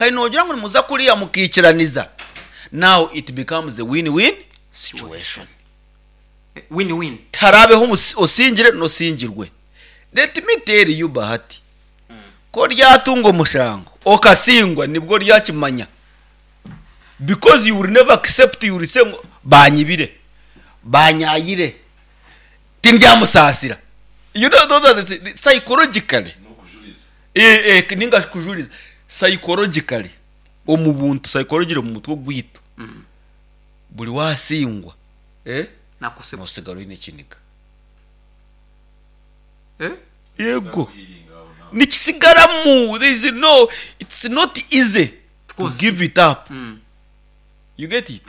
Kare noogira ngu nimuza kuriya mukaikiraniza, now it becomes a win-win situation. Win-win. Tiharaabeho osingire n'osingirwe. Let me tell you Bahati, ku oryatunga omushango okasingwa nibwo oryakimanya because you will never accept, you will say ngu baanyibire, baanyaayire, tindyamusaasira. You know those are the psychologically eh, eh, ninga kujuriza psychologically omu buntu psychologically omu mutwe gwaitu buri wasingwa eh, Nakosebwa. nosigara oine ekiniga. Eh? Yego nikisigaramu there is no it's not easy to Course. give it up. You get it?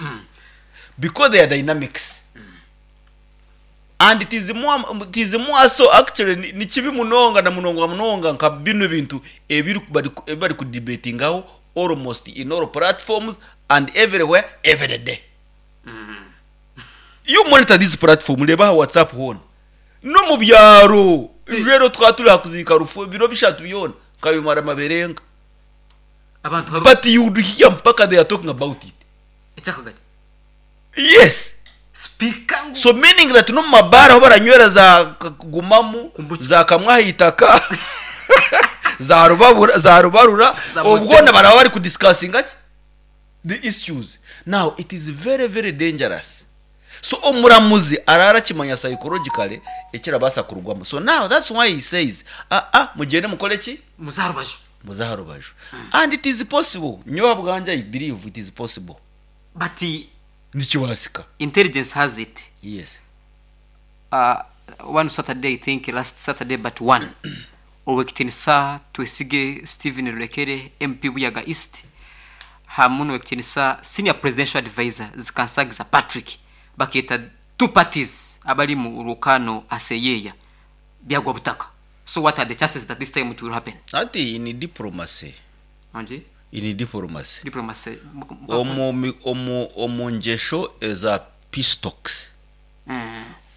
Because they are dynamics. And it is more, it is more so actually ni- ni kibi munonga na munonga munonga nka bino bintu ebiri bari ebi bari kudebatingaho almost in all platforms and everywhere every day. You monitor this platform reba aha WhatsApp hoona n'omu byaro reero twaba turi aha kuziika rufu ebiro bishatu byona nkabimara maberenga Abantu hariho but you would hear mpaka they are talking about it. ekyakagari. Yes. Sipiika ngu So meaning that n'omu mabaara ahu baranywera za gumamu, Kombucha. za kamwe aha itaka, za rubabura, za rubarura, Za obwo Motema. na baraba bari kudiscussinga ki? The issues. Now it is very very dangerous. So omuramuzi arara akimanya psychologically ekirabaasa kurugwamu. So now that's why he says, ah ah mugyende mukore ki? Muze aha rubaju. Muze aha rubaju. And it is possible. Nyowe ahabwangye I believe it is possible. But Nikibaasika. intelligence has it. Yes. One Saturday, I think last Saturday but one, Owekitinisa Twesige Stephen Rurekere, MP Buyaga East, hamu n'Owekitinisa Senior Presidential Advisor Zikansagiza Patrick bakeeta two parties abari mu rukano aseyeya byagwa butaka. So what are the chances that this time it will happen? Hati in diplomacy, Anji? in diplomacy, Diplomacy. omu, mi- omu, omu ngyesho eza peace talks,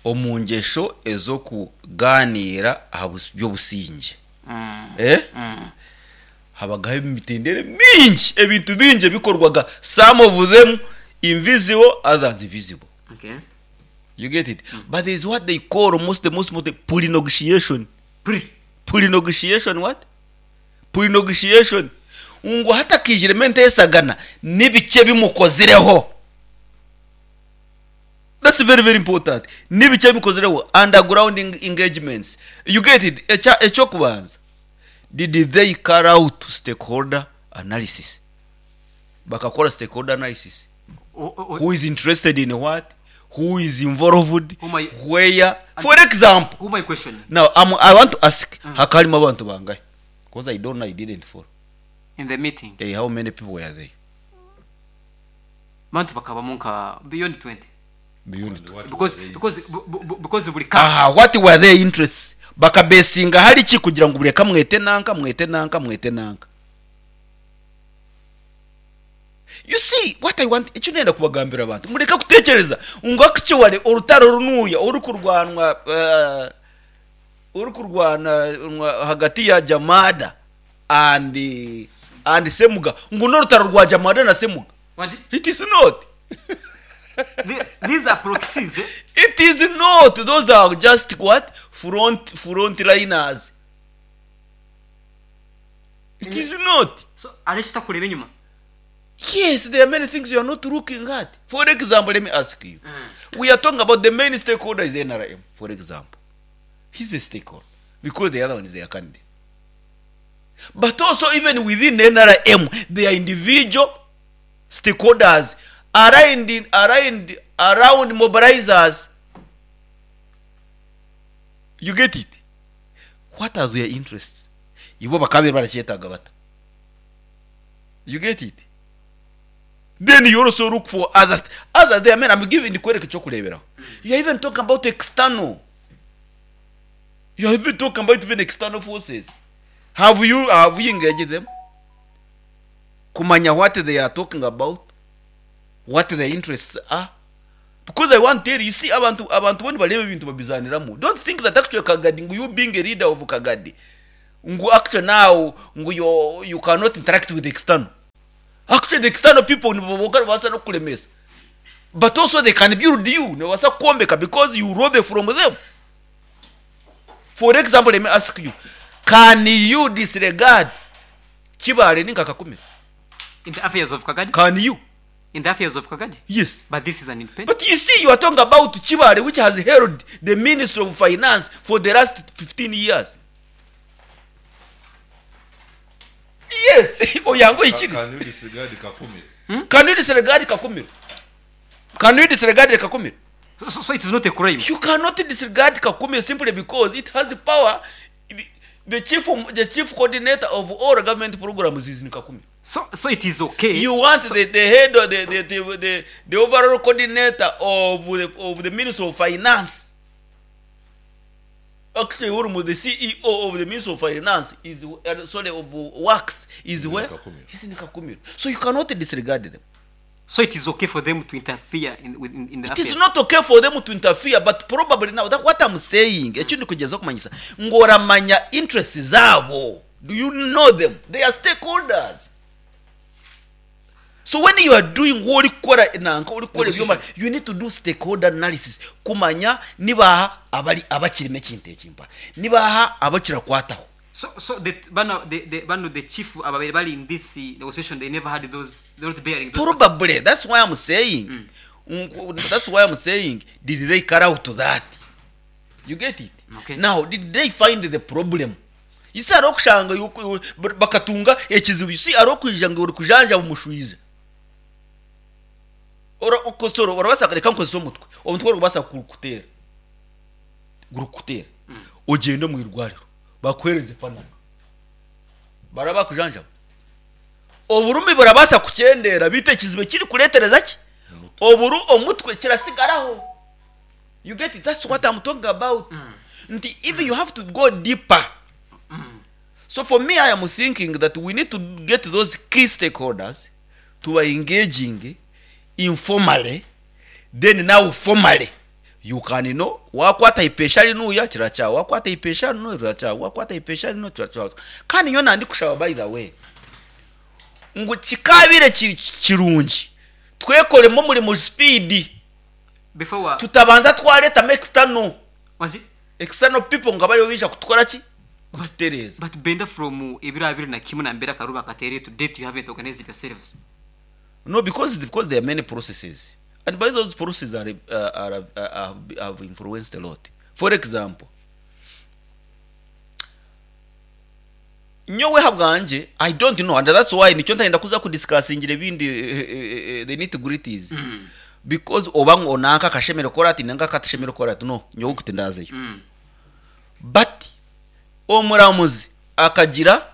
omu ngyesho ez'okugaaniira aha bus- by'obusingye, eh? Habagaho emitendera mingi, ebintu bingi ebikorwaga, some of them invisible, others visible. You get it? But there is what they call most the most, most pre-negotiation. Pre. Pre-negotiation what? Pre-negotiation. Ngu hatakijiremu enteesagana n'ebiki ebi mukozireho. That's very very important. N'ebiki ebi mukozireho underground engagements. You get it? Ekya eky'okubanza. Did they carry out stakeholder analysis? Bakakora stakeholder analysis. Who is interested in what? Who is involved? Whom I- Where? For example, Who am I questioning? now I want to ask, hakaba harimu abantu bangahe? Because I don't know, I didn't follow. In the meeting. Hey, how many people were there? Bantu bakabamu nka beyond 20. Beyond And what Because were they because interests? because buri ka Aha, what were their interests? Bakabesinga hari ki kugira ngu bureka mwete nanka, mwete nanka, mwete nanka. You see what I want, eki nenda kubagambira abantu, mureke kutekereza ngu actually orutaro runuya orukurwanwa orukurwana hagati ya Jamada and Semuga ngu n'orutaro rwa Jamada na Semuga. Wanji? It is not. These are proxies. Eh? It is not. Those are just what? Front liners. It is not. So arekita kureba enyima. Yes, there are many things you are not looking at. For example, let me ask you. We are talking about the main stakeholder is NRM, for example. He's a stakeholder because the other one is their candidate. But also even within NRM, there are individual stakeholders around mobilizers. You get it? What are their interests? Ibo bakabe barakyetaaga bata. You get it? Then you also look for other, other there, man, I'm giving kwereka ekyokureeberaho. You are even talking about external. You are even talking about even external forces. Have you engaged them? Kumanya what they are talking about, what their interests are. Because I want to tell you, see, abantu bano bareba ebintu babizaniramu. Don't think that actually Kagadi, ngu you being a leader of Kagadi, ngu actually now, ngu you cannot interact with the external. Actually the external people nibo bonka nibabaasa n'okukuremesa but also they can build you, nibabaasa kukwombeka because you lobby from them. For example let me ask you, can you disregard Kibaale ninga Kakumiro? In the affairs of Kagadi? Can you? In the affairs of Kagadi? Yes. But this is an independent. But you see you are talking about Kibaale which has held the ministry of finance for the last 15 years. Yes, oyange oikirize. Can you disregard Kakumiro? Can you disregard Kakumiro? Can you disregard Kakumiro? So, so, so it is not a crime. You cannot disregard Kakumiro simply because it has power. The, the chief the chief coordinator of all government programs is in Kakumiro. So, so it is okay. You want the, the head of the, the, the, the, the overall coordinator of the, of the Ministry of Finance. Actually, Urumu, the CEO of the Ministry of Finance is sorry of Works is in where? Kakumiro. He's in Kakumiro. So you cannot disregard them. So it is okay for them to interfere in, with- in, in the It is affairs. not okay for them to interfere but probably now that what I'm saying eki ndikugyezaho kumanyisa ngu oramanya interests zaabo do you know them they are stakeholders so when you are doing orikukora nanka orikukora ebyoma you need to do stakeholder analysis kumanya nibaha abari abakirimu ekintu eki mpa nibaha abakirakwataho So, so the, bano, the, the, bano, the chief ababaire bari in this negotiation, they never had those, they're not bearing those. Probably that's why I'm saying that's why I'm saying did they carry out that you get it Okay. now did they find the problem you see hariho okushanga yuko- bakatunga ekizibu you see hariho okwija ngu orikujanjaba omushwiza Ora- okosora orabaasa reka nkozese omutwe omutwe orikubaasa kukuteera gurikukuteera ogyende omu irwariro bakuheereze panado baraba bakujanjaba oburumi burabaasa kukyendeera beitu ekizibu ekirikureetereza ki oburu omutwe kirasigaraho you get it that's what I'm talking about nti even you have to go deeper so for me I am thinking that we need to get those key stakeholders to are engaging informally then now formally you can know wakwata ipesha rinuya kirakyawa wakwata ipesha rinu rirakyawa wakwata ipesha rinu kirakyawa kandi nyowe nandikushaba by the way ngu kikaabire kiri kirungi twekoremu omurimo speed Before wa, tutabanza twaretamu external wangi? external people ngu abaribo baija kutukora ki kututereeza But Benda from ebiro abiri na kimwe nambere akaruba akateere to date you haven't organized yourselves. No, because because there are many processes, and by those processes are, are, have, have influenced a lot. For example, nyowe habwanje I don't know, and that's why nikyo ntayenda kuza kudiscussingira ebindi the nitty gritties because oba ngu onanka akashemere kukora ati nanka akatashemere kukora ati no nyowe kuti ndazeyo but omuramuzi akagira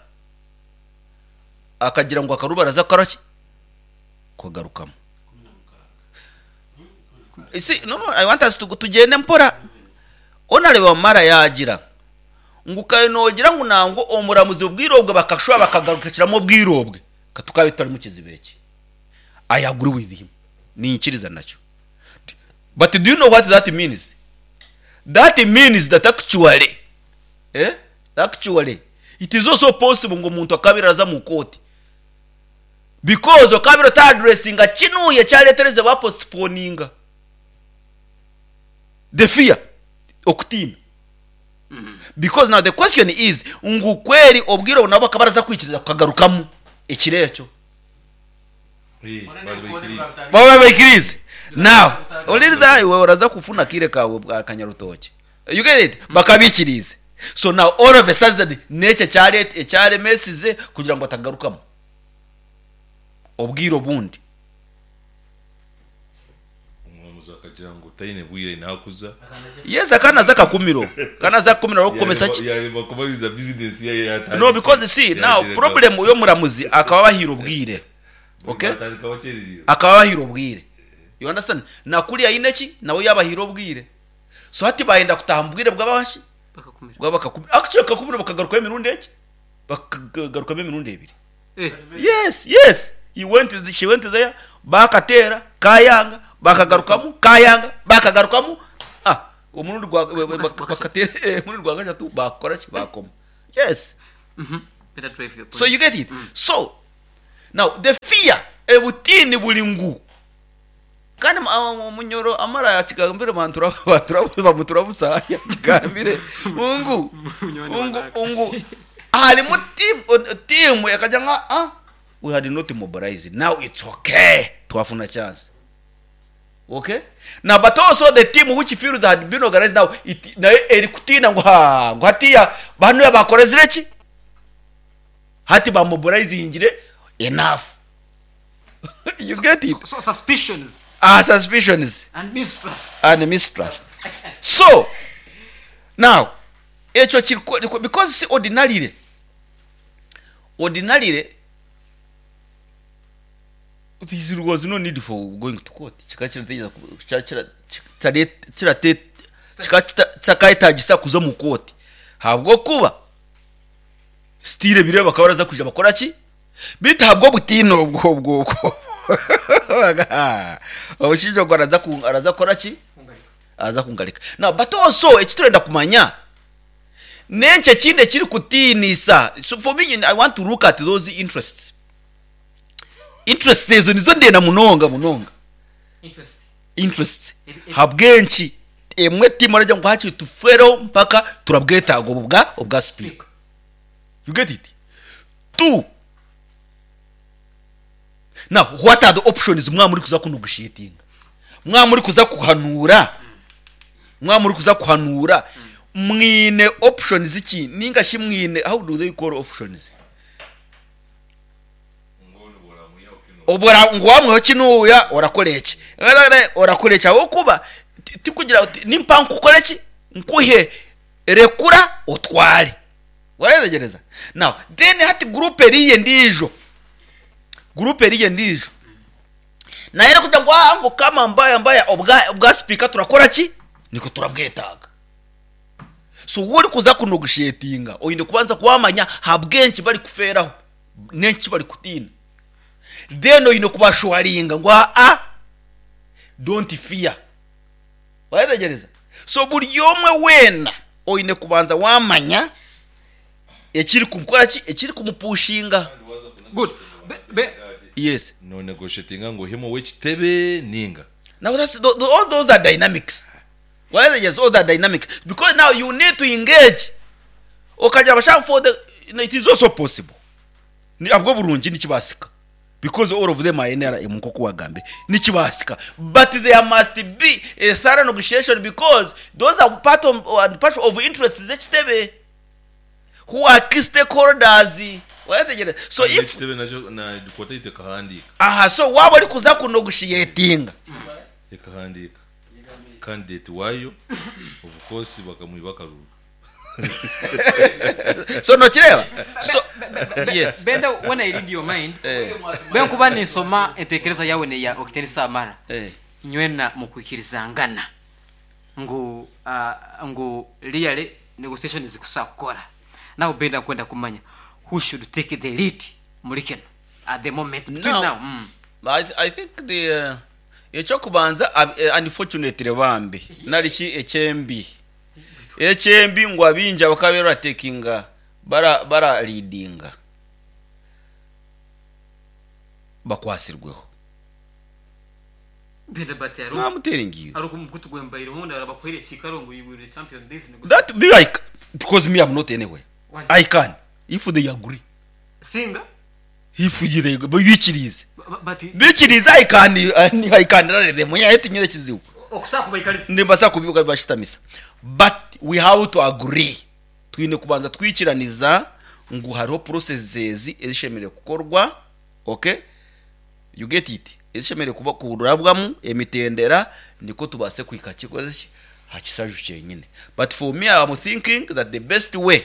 akagira ngu akaruba araza kukora ki kukagarukamu You see, no, no, I want us to tugyende mpora onareba mara yagira ngu kare nogira ngu nangwa omuramuzi obwire obwe bakashuba bakagarukiramu obwire obwe katukabe tutari mu kizibu eki I agree with him niinyikiriza nakyo but do you know what that means that means that actually eh actually it is also possible ngu omuntu akabeera araza mu kooti because okabeire ota addressinga kinuuya ekyareetereze bapostponinga the fear okutiina because now the question is ngu kweri obwire obu nabo bakaba baraza kwikiriza kukagarukamu ekiro ekyo Eh, bari baikiriize. baba baikiriize now oliriza iwe oraza kufuna akaire kawe akanyarutookye you get it bakabikiriize so now all of a sudden n'ekyo ekyaremesize kugira ngu batagarukamu obwire obundi Omuramuzi akagira ngu taine bwire nakuza. Yes, akanaza kakumiro. Kanaza kakumiro arikukomesa ki? Yarema kumaliriza business ye yatandikire. No, because you see now problem y'omuramuzi akaba abahire obwire. Okay? Batandika bakyererire. Akaba abahire obwire. You understand? Na kuriya aine ki? Nawe yabahire obwire. So hati bayenda kutaha mu bwire bw'abashi? Bakakumira. Bw'abakakumiro. Actually bakakumiro bakagarukayo emirundi eki? Bakagarukamu emirundi ebiri. Eh. Yes, yes. He went, she went there, bakateera, kayanga, bakagarukamu, kayanga, bakagarukamu. Ah, omurundi gwa bakateera, eh, omurundi gwa kashatu bakora ki? Bakoma. Yes. Better drive your point. So you get it? So, Now the fear, ebutiini buri ngu kandi Munyoro amara yakigambire bamutura busa yakigambire ngu ngu ngu harimu tiimu ekagira ngu aa we had not mobilized now it's okay twafuna chance. Okay now but also the team which feels had been organized now it nayo erikutiina ngu haa ngu hatiiya banu bakorezire ki? Hati ba mobilizingire enough. You get it? So suspicions. Ah, suspicions. And mistrust. And mistrust. So, now, ekyo kiri, because see ordinarily, ordinarily, there was no need for going to court. Kikaba kirategyereza ku- kikaba kira- kitare- kirate- kikaba kita- kitakayetagisa kuza omu kooti ahabw'okuba Still ebiro bakaba baraza kwija bakora ki? Beitu ahabw'obutiini obwo obwo obwo omushaija ogwo araza ku araza kukora ki? Araza kungarika. Now but also eki turenda kumanya n'enki ekindi ekirikutiinisa so for me I want to look at those interests. Interests ezo nizo ndenda munonga munonga. Interest. Interests. Habw'enki emwe tiimu aragira ngu hakiri tufeereho mpaka turabwetaaga obu bwa obwa sipiika. You get it? Two, now what are the options mwaba murikuza ku negotiatinga? Mwaba murikuza kuhanuura, mwaba murikuza kuhanuura, mwine options ki ninga shi mwine how do they call options? Obwo ngu wamwihaho kinuuya orakora eki, orakora eki ahabw'okuba tikugira oti nimpa nkukore ki nkuhe rekura otware. Waayetegyereza? Now then hati guruupu eriiya endiijo, guruupu eriiya endiijo nayo erikugira ngu aa ngu kama mbaya mbaya obwa obwa sipiika turakora ki? Nikwo turabwetaaga. So waaba orikuza kunogoshetinga oine kubanza waamanya ahabw'enki barikufeeraho n'enki eki barikutiina. Then oine kubashuwaringa ngu aa don't fear. Wayetegyereza? So buri omwe weena oine kubanza wamanya ekiri kumukora ki, ekiri kumupushinga. Good. Be, be, Yes. No negotiatinga ngu ohemu ow'ekitebe ninga. Now that's the, the, all those are dynamics. Wayetegyereza? All that dynamics because now you need to engage. Okagira abashaho for the it is also possible. Ni ahabw'oburungi nikibaasika. Because all of them are NRM nk'oku wagambire. Nikibaasika. But there must be a thorough negotiation because those are part of, and part of interests z'ekitebe who are key stakeholders. Wayetegereza? So Kandi if ekitebe nakyo na kooti yaitu ekahandiika. aha so waaba orikuza kunogoshiyetinga Ekahandiika candidate waayo of course bakamwiba akaruru. So nokireeba? So yes. Benda when I read your mind, Eh. benkuba ninsoma entekereza yawe neya Okitenisa Amara, Eh. nywena mukwikirizangana ngu uh, ngu really negotiation zikusa kukora. Now Benda nkwenda kumanya who should take the lead muri kino at the moment between Now, now. Mm. I, I think the uh, ekyokubanza unfortunately bambi nari shi ekyembi Ekyembi ngu abaingi abakaba baratekinga bara bara leadinga bakwatsirweho. Benda but No, I'm telling you. ari omukutu gwembaire obundi arabakuhaire ekiikaro ngu you will champion this That be like because me I'm not anywhere. I can if they agree. Singa If they bikiriize. But Bikiriize I can I can rally them. Nyowe tinyine kizibu. Okusobola kubaikariza. Nimbaasa kubashutamisa. But we have to agree. Twine kubanza twikiraniza ngu hariho processes ezi ezishemereire kukorwa, okay? You get it? Ezishemereire kuba kurabwamu emitendera nikwo tubaase kuhika ki aha kisaju kyenyine. But for me I am thinking that the best way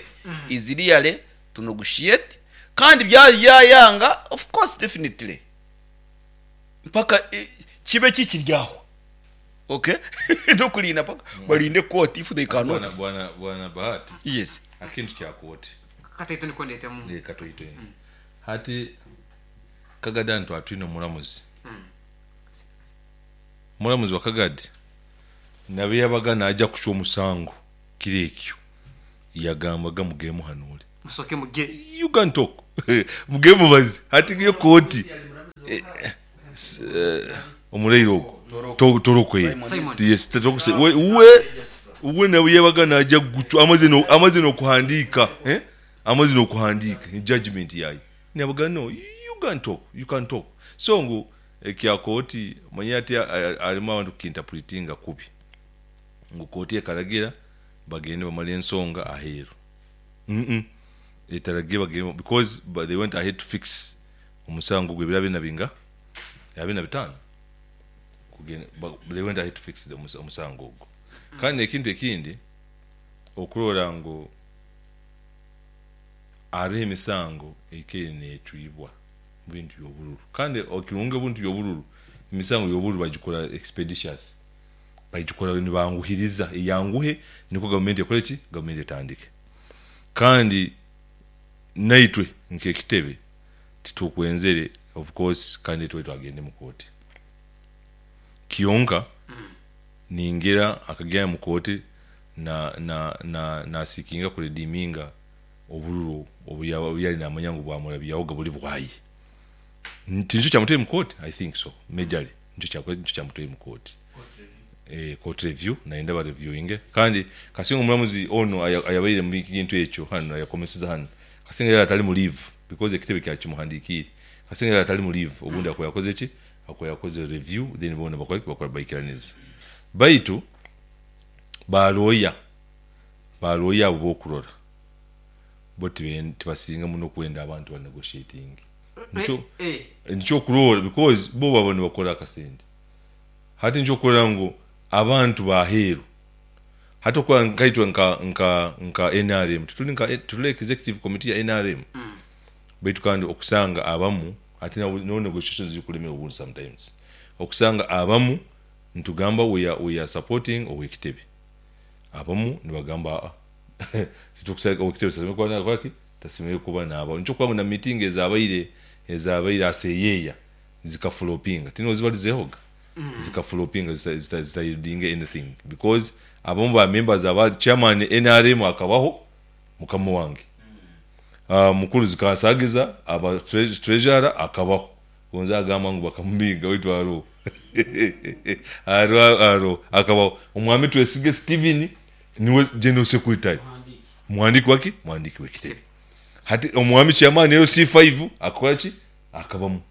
is really to negotiate kandi byayanga of course definitely mpaka kibe kikiri aho okay n'okurinda mpaka barinde kooti if they cannot Bwana bwana bwana Bahati. Yes. Akintu kya kooti. Kataito nikwo ndetemu. Eh, katoito. Hati Kagadi hanu twaba twine omuramuzi. Omuramuzi wa Kagadi nabe yabaga naija kucwa omusango kiro ekyo yagambaga mugende muhanuure. Musooke mugye. You can talk. Mugende mubaze. Hati yo kooti omuraire ogwo Toroko ye. Simon. Yes, Toroko se we we we nawe yabaga naja kugucwa amaze no amaze nokuhandiika eh amaze nokuhandiika judgment yaye. Nabaga no you can talk, you can talk. So ngu ekya kooti manya ati alimu abantu kukinterpretinga kubi. Ngu kooti ekaragira bagende bamale ensonga aheeru. Umm etaragire bagende because they went ahead to fix omusango gwe ebiro abiri na binga? Abiri na bitaano kugenda they went ahead to fix the omusango ogwo. Kandi n'ekintu ekindi okurora ngu hariho emisango ekaire necwibwa omu bintu by'obururu kandi ekirungi omu bintu by'obururu emisango y'obururu bagikora expeditious bagikora nibanguhiriza eyanguhe nikwo gavumenti ekore ki? Gavumenti etandike. Kandi naitwe nk'ekitebe titukwenzere of course candidate waitu agende mu kooti. Kyonka ningira akagenda mu kooti na na na nasiikinga kuredeeminga obururu obu yali namanya ngu bwamurabyahoga buri bwaye. Tinikyo kyamutwaire mu kooti? I think so majorly nikyo kyamutwaire mu kooti. Eh, court review nayenda ba reviewinge kandi kasinga omuramuzi onu ayabaire mu kintu ekyo hanu ayakomeseza hanu kasinga yari atari mu leave because ekitebe kyakimuhandikiire kasinga yari atari mu leave obundi akuba yakoze ki akuba yakoze review then boona bakora ki bakora baikiraniza baitu ba lawyer ba lawyer abo bokurora bo tibasinga muno kwenda abantu ba negotiatinge nikyo nikyo okurora because bo baba nibakora akasente. Hati nikyokurora ngu abantu b'aheeru hati okuba nkaitwe nka nka nka nrm tituri nka tituri executive committee ya nrm baitu kandi okusanga abamu hati no negotiations zirikulemera obundi sometimes okusanga abamu nitugamba we are we are supporting ow'ekitebe abamu nibagamba aa titukusagika ow'ekitebe tasemeriire kuba naakora ki tasemeriire kuba naabaho nikyo okuba ngu na meeting ezabaire ezabaire aseyeeya zikafulopinga tino ozibarizehoga zikafulopinga zitayieldinge anything because abamu ba members aba chairman nrm akabaho mukama wange mukuru zikansagiza aba treasurer akabaho gonza agamba ngu bakamubinga baitu aroho aroho akabaho omwami Twesige Steven niwe general secretary muhandiki waki muhandiki wekitebe hati omwami chairman LC5 akakora ki Akabamu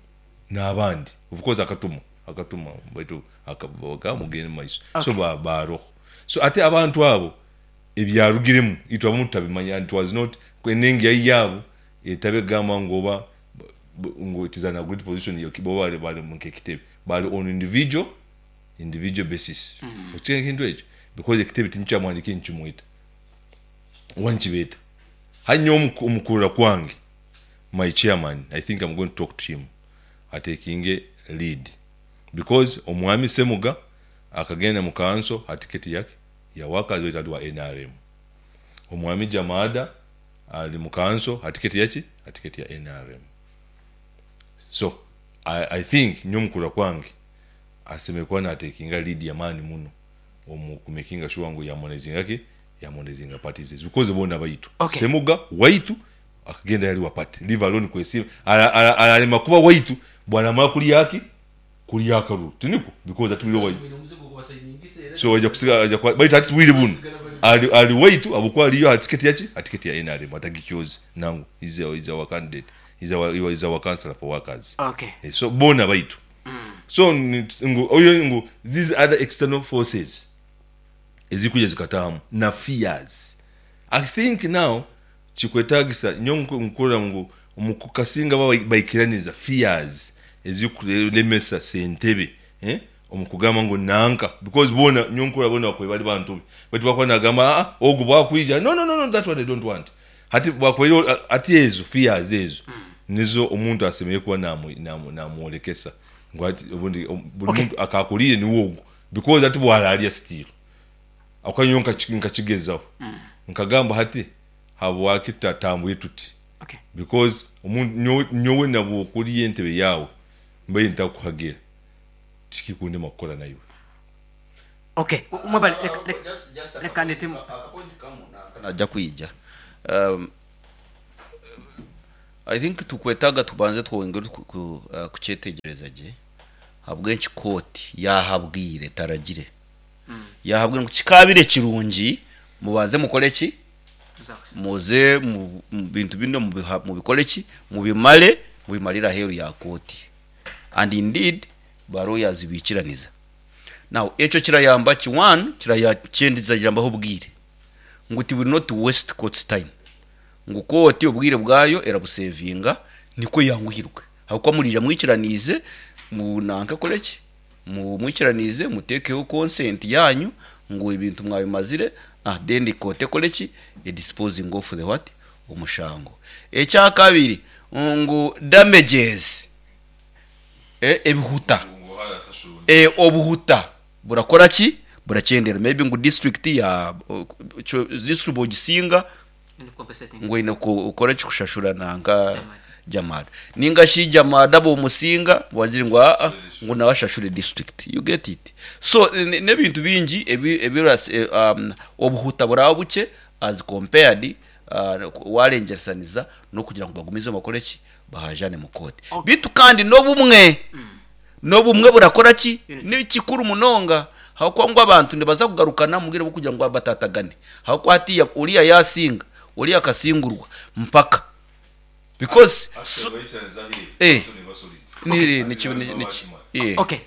n'abandi of course akatuma akatuma baitu aka mugende mu maiso so ba baroho so ate abantu abo ebyarugiremu itwe abamu tutabimanya and it was not enengi yai yaabo etabe egamba ngu oba ngu it is an agreed position bo bari bari nk'ekitebe bari on individual individual basis okitegeera ekintu ekyo because ekitebe tinikyamuhandiikire nikimweta oba nikibeeta hati nyowe omu kurora kwange my chairman I think am going to talk to him atekinge lead because omwami Semuga akagenda mu kanso ha ticket yaki ya workers baitu ali wa nrm, omwami Jamada ali mu kanso ha ticket yaki ha ticket ya nrm so I, I think nyowe omukurora kwange asemeriire kuba natekinga lead yamaani muno omu kumekinga sure ngu yamonezinga ki yamonezinga parties ezi because boona baitu Okay. Semuga waitu Akagenda yali wa party leave alone kwesiima ararema kuba waitu bwaramara kurya ki kurya akaruru tinikwo because atwire waitu so aija kusiga aija kuba baitu hati bwire bunu ali ali waitu habwokuba aliyo aha ticket yaki aha ticket ya nrm atagikyoze nangwa he's he's our candidate he's our he's our councillor for workers Okay. Eh, so boona baitu so ngu oyo ngu these other external forces ezirikwija zikataahamu na fears I think now Kikwetagisa nyowe nkurora ngu omu kukasinga baba baikiraniza fears ezirikuremesa sentebe omu kugamba ngu nanka because boona nyowe nkurora boona bakubaire bari bantu be baitu bwakuba nagamba aa ogu bwakwija no no no that one I don't want hati bwakubaire hati ezo fears ezo nizo omuntu asemeriire kuba namworekesa ngu hati obundi buri muntu akakuriire niwe ogu because hati bwararya still. Ahabw'okuba nyowe nkakigyezaho nkagamba hati habwaki tutatambwire tuti because nyowe nabw'okurya entebe yaawe mbaire ntakuhagira tikikundema kukora naiwe. Okay, mwebale leka, leka, leka ndetemu. Naija kwija. I think tukwetaaga tubanze twongere kukyetegyereza gye ahabw'enki kooti yaahabwire etaragire. Yaahabwire ngu kikaabire kirungi mubanze mukore ki? Muze mu bintu binu mubikore ki? Mubimare, mubimarire aheeru ya kooti. And indeed ba lawyers baikiraniza. Now ekyo kirayamba ki? One, kirayambaho obwire ngu it will not waste court's time. Ngu kooti obwire bwayo erabusevinga nikwo eyanguhirwe ahabw'okuba muriija mwikiraniize mu nanka ekore ki? Mu mwikiraniize muteekeho consent yaanyu ngu ebintu mwabimazire ah then kooti ekore ki? E disposing off the what? Omushango. Ekyakabiri ngu damages, ebihuta, obuhuta burakora ki? Burakyendera maybe ngu district ya district bogisinga ngu oine kukora ki kushashura nanka Jamada ninga shi Jamada bomusinga bagire ngu aa ngu nawe ashashure district you get it so n'ebintu bingi ebi obuhuta buraba bukye as compared warengyesaniza n'okugira ngu bagumizemu bakore ki bahajane mu kooti beitu kandi n'obumwe N'obumwe burakora ki? Ni kikuru munonga ahabw'okuba ngu abantu nibaza kugarukana omu bwire bw'okugira ngu batatagane. Ahabw'okuba hatiiya oriya yaasinga, oriya akasingurwa mpaka. Because so, eh, ni, ni, ni, ni, eh. Okay,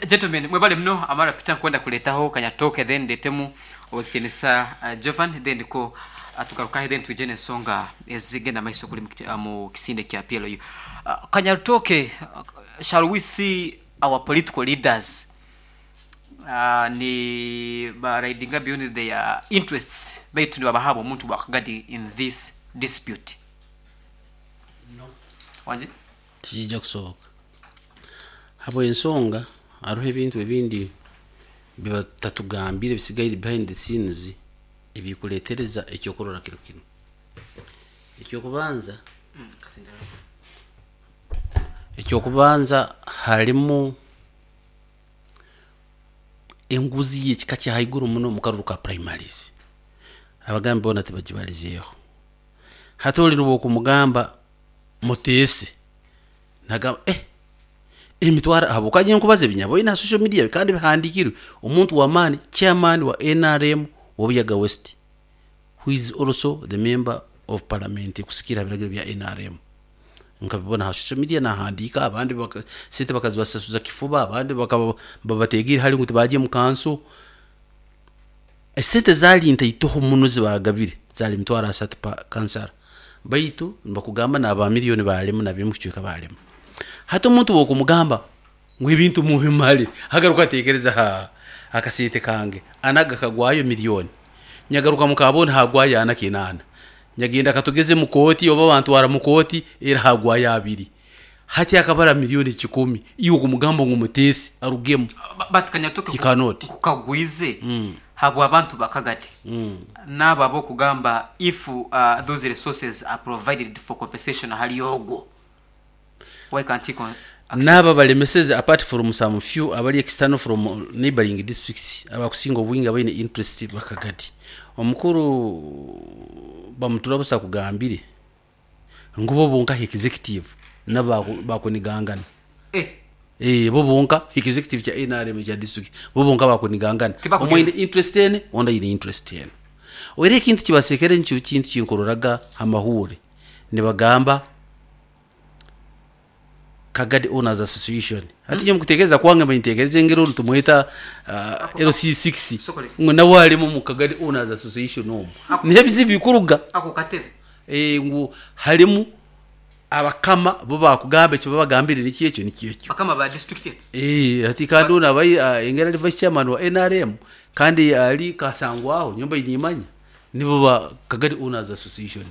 gentlemen, mwebale muno. Amara Peter nkwenda kureetaho Kanyatooke then ndeetemu Owekitiinisa Jovan then nikwo tugarukaho then twije n'ensonga ezigenda maiso kuri mu kisinde kya PLU. Kanyarutooke, shall we see our political leaders ni ba ridinga beyond their interests baitu nibabaha omuntu bwa kagadi in this dispute? No. Wangi? Tikiija kusoboka. Habw'ensonga hariho ebintu ebindi bibatatugambire bisigaire behind the scenes ebikuretereza ekyokurora kiro kinu. Ekyokubanza, ekyokubanza harimu enguzi y'ekika kya haiguru muno omu karuru ka primaries. Abagambi boona tibagibarizeeho. Hati ori obu okumugamba muteese, nagamba eh emitwaro ahabw'okuba nyowe nkubaza ebi nyaboine aha social media kandi bihandiikirwe, omuntu w'amaani chairman wa NRM wa Buyaga West who is also the member of parliament kusikiira aha biragiro bya nrm. Nkabibona aha social media nahandiika abandi baka sente bakazibasasuza kifuba abandi bakaba babateegeire hare ngu tibagye omu kanso. Esente zaari ntaitoho muno ezi baagabire zaari emitwaro ashatu per kansara baitu nibakugamba naaba million baarema na b'omu kicweka baarema. Hati omuntu waaba okumugamba ngu ebintu mubimare agaruka atekereza haa akasente kange ana gakagwayo million nyagaruka mukaboona hagwayo ana kinaana nyagenda katugeze mu kooti oba bantwara mu kooti era hagwayo abiri hati akabara million kikumi iwe okumugamba ngu muteese arugemu But Kanyatoke he cannot. kukagwize habw'abantu bakagati n'abo ab'okugamba if those resources are provided for compensation ahari ogwo Why can't he con accept? N'abo abaremeseze apart from some few abari external from neighboring districts abakusinga obwingi abaine interest bakagadi. Omukuru Bamutura busa akugambire ngu bo bonka aha executive nabo bakunigangana. Eh. Eh, bo bonka executive kya nrm ekya district bo bonka bakunigangana. Tibakugeza. Omwe aine interest ene, ondi aine interest ene. Era ekintu kibasekere nikyo kintu kinkuroraga aha mahuure nibagamba Kagadi Owners Association. Hati nyowe omukutekereza kwange mba nintekereza engeri onu tumweta LC6 Sokole. ngu nawe arimu omu Kagadi Owners Association omu. Niho ebizibu bikuruga. Ako katebe. Eh, ngu harimu abakama bo bakugamba eki babagambire nikyo ekyo nikyo ekyo. Bakama ba district egi. Eh, hati kandi onu abaire engeri ari vice chairman wa NRM kandi ari Kasangwaho nyowe mbaire nimanya nibo ba Kagadi Owners Association.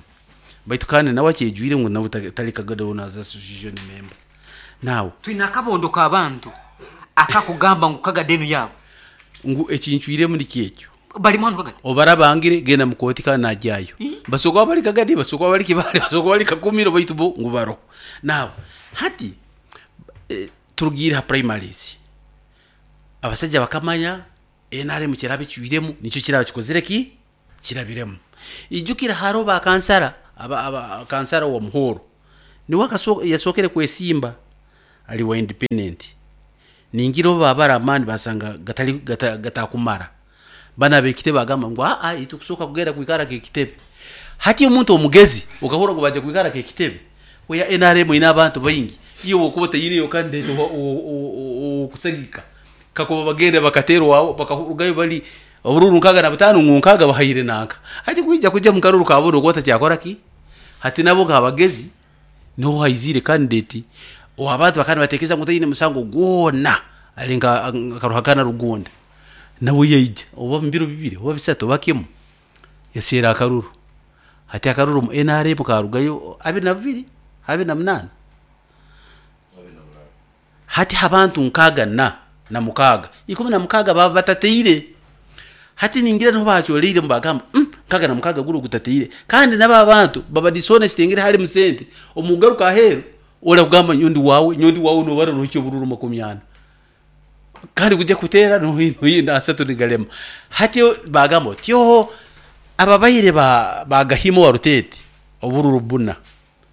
Baitu kandi nawe akyejwire ngu nawe tari Kagadi Owners Association member. Now. Twine akabondo k'abantu akakugamba ngu Kagadi enu yaabo. Ngu eki ncwiremu nikyo ekyo. Barimu hanu Kagadi? Obarabangire genda mu kooti kandi nagyayo. Basobola kuba bari Kagadi, basobola kuba bari Kibaale, basobola kuba bari Kakumiro baitu bo ngu baroho. Now hati turugiire aha primaries, abasaija bakamanya NRM kyeraba ecwiremu nikyo kiraba kikozire ki? Kirabiremu. Ijukira hariho ba kansara. aba, aba kansara wa Muhoro niwe yasookere kwesimba ali wa independent. Ningira obu babara amaani basanga gatali gatakumara bana bekitebe bagamba ngu aa itukusooka kugenda kwikara kekitebe. Hati omuntu omugezi okahura ngu baje kwikara kekitebe oya NRM ine abantu baingi, iyo wokuba tayine candidate okusagika kakuba bagenda bakaterwaho bakarugayo bali obururu 65 ngu 60 bahaire nanka. Hati kwija kuja mukaruru kaburo okwo takyakora ki? Hati nabo nk'abagezi niho haizire candidate abantu bakaba nibatekereza ngu taine musango gwona ali nka Ruhakana Rugunda, nawe yaija oba mu biro 2 oba 3 oba kimwe yaseera akaruru. Hati akaruru omu NRM karugayo 22 28. Hati abantu 66 16 baba batateire. Hati ningira niho bacyoreire mubagamba 66 guri gutateire, kandi naba abantu baba dishonest ngira hari musente omugaruka aheru ora kugamba nyondi wawe nyondi wawe nobara rucyo bururu 40 kandi kujya kutera no hino na asatu nigalema. Hati bagamba tyo ababaire bagahimo wa rutete obururu buna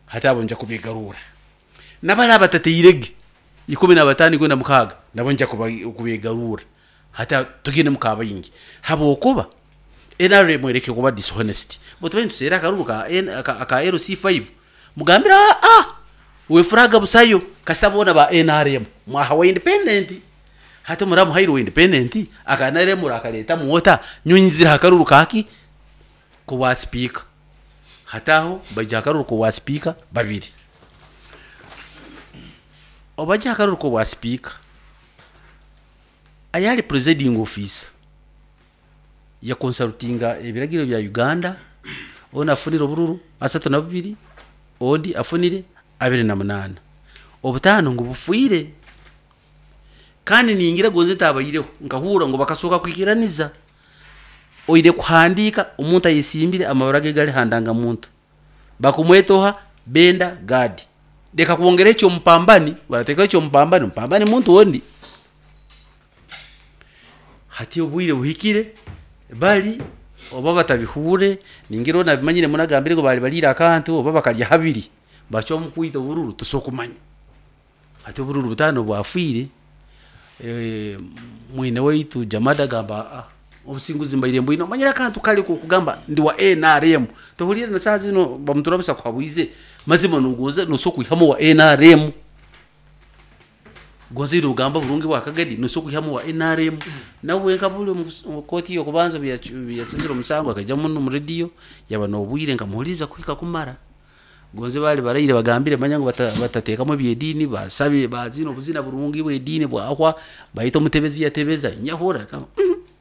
hati abo nja kubigarura nabara batateirege 15 kwenda mukaga nabo nja kubigarura hati tugende mukaba yingi habokuba NRM ereke kuba dishonest botuba ntusera akaruru ka ka LC5 mugambira we fraga busayo kasabona ba NRM mwahawe independent. Hati muramu hairo independent aka NRM rakaleta muota nyunzira akaruru kaki kuwa speaker. Hataho baija akaruru kuwa speaker babiri obaja akaruru kuwa speaker ayali presiding officer ya consultinga ebiragiro bya Uganda ona afunire obururu 32 ondi afunire 28 obutano ngu bufuire. Kandi ningira gonze tabayireho nkahura ngo bakasoka kwikiraniza oire kuhandika omuntu ayesimbire amabara ge gali handanga muntu bakumwetoha benda gadi deka kuongera ekyo mpambani barateka ekyo mpambani mpambani muntu wondi. Hati obwire buhikire bali oba batabihure ningira nabimanyire munagambire ngo bali balira akantu oba bakalya habiri bacho mukwita obururu tusokumanya. Hati obururu butano bwafire mwine waitu Jamada gamba obusinguzi mbaire mbwino manyira akantu kali kugamba ndi wa NRM tuhulire na saa zino bamuturabisa kwabwize mazima nugoza nusokuihamo wa NRM gonze rugamba burungi bwakagadi nusokuihamo wa NRM nawe nkabule mu koti yo kubanza byasizira omusango akaja muno mu radio yaba nobwire nkamuhuliza kuhika kumara gonze bali barayire bagambire manyango batatekamo byedini basabe bazino buzina burungi bwedini bwahwa bayito mutebezi yatebeza nyahura kama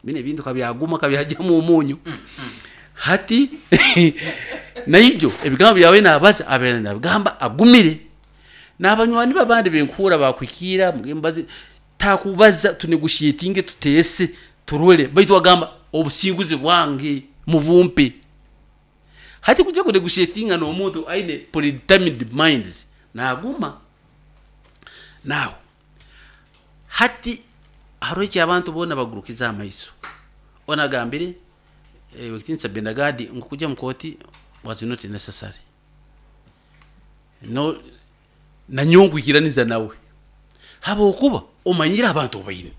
bine bintu kabyaguma kabyajya mu munyu. Hati naijo ebigambo byawe nabaza abena nabigamba agumire nabanywani babandi benkura bakwikira mugembazi takubaza tunegushitinge tutese turole baitu agamba obusinguzi bwange mubumpe. Hati kujya kunegushitinga no muntu aine predetermined minds naguma naho. Hati haroki abantu bona bagurukiza amaiso onagambire wekitinsa Bendagadi ngo kujya mukoti was not necessary no nanyongu ikiraniza nawe habokuba omanyira abantu obayine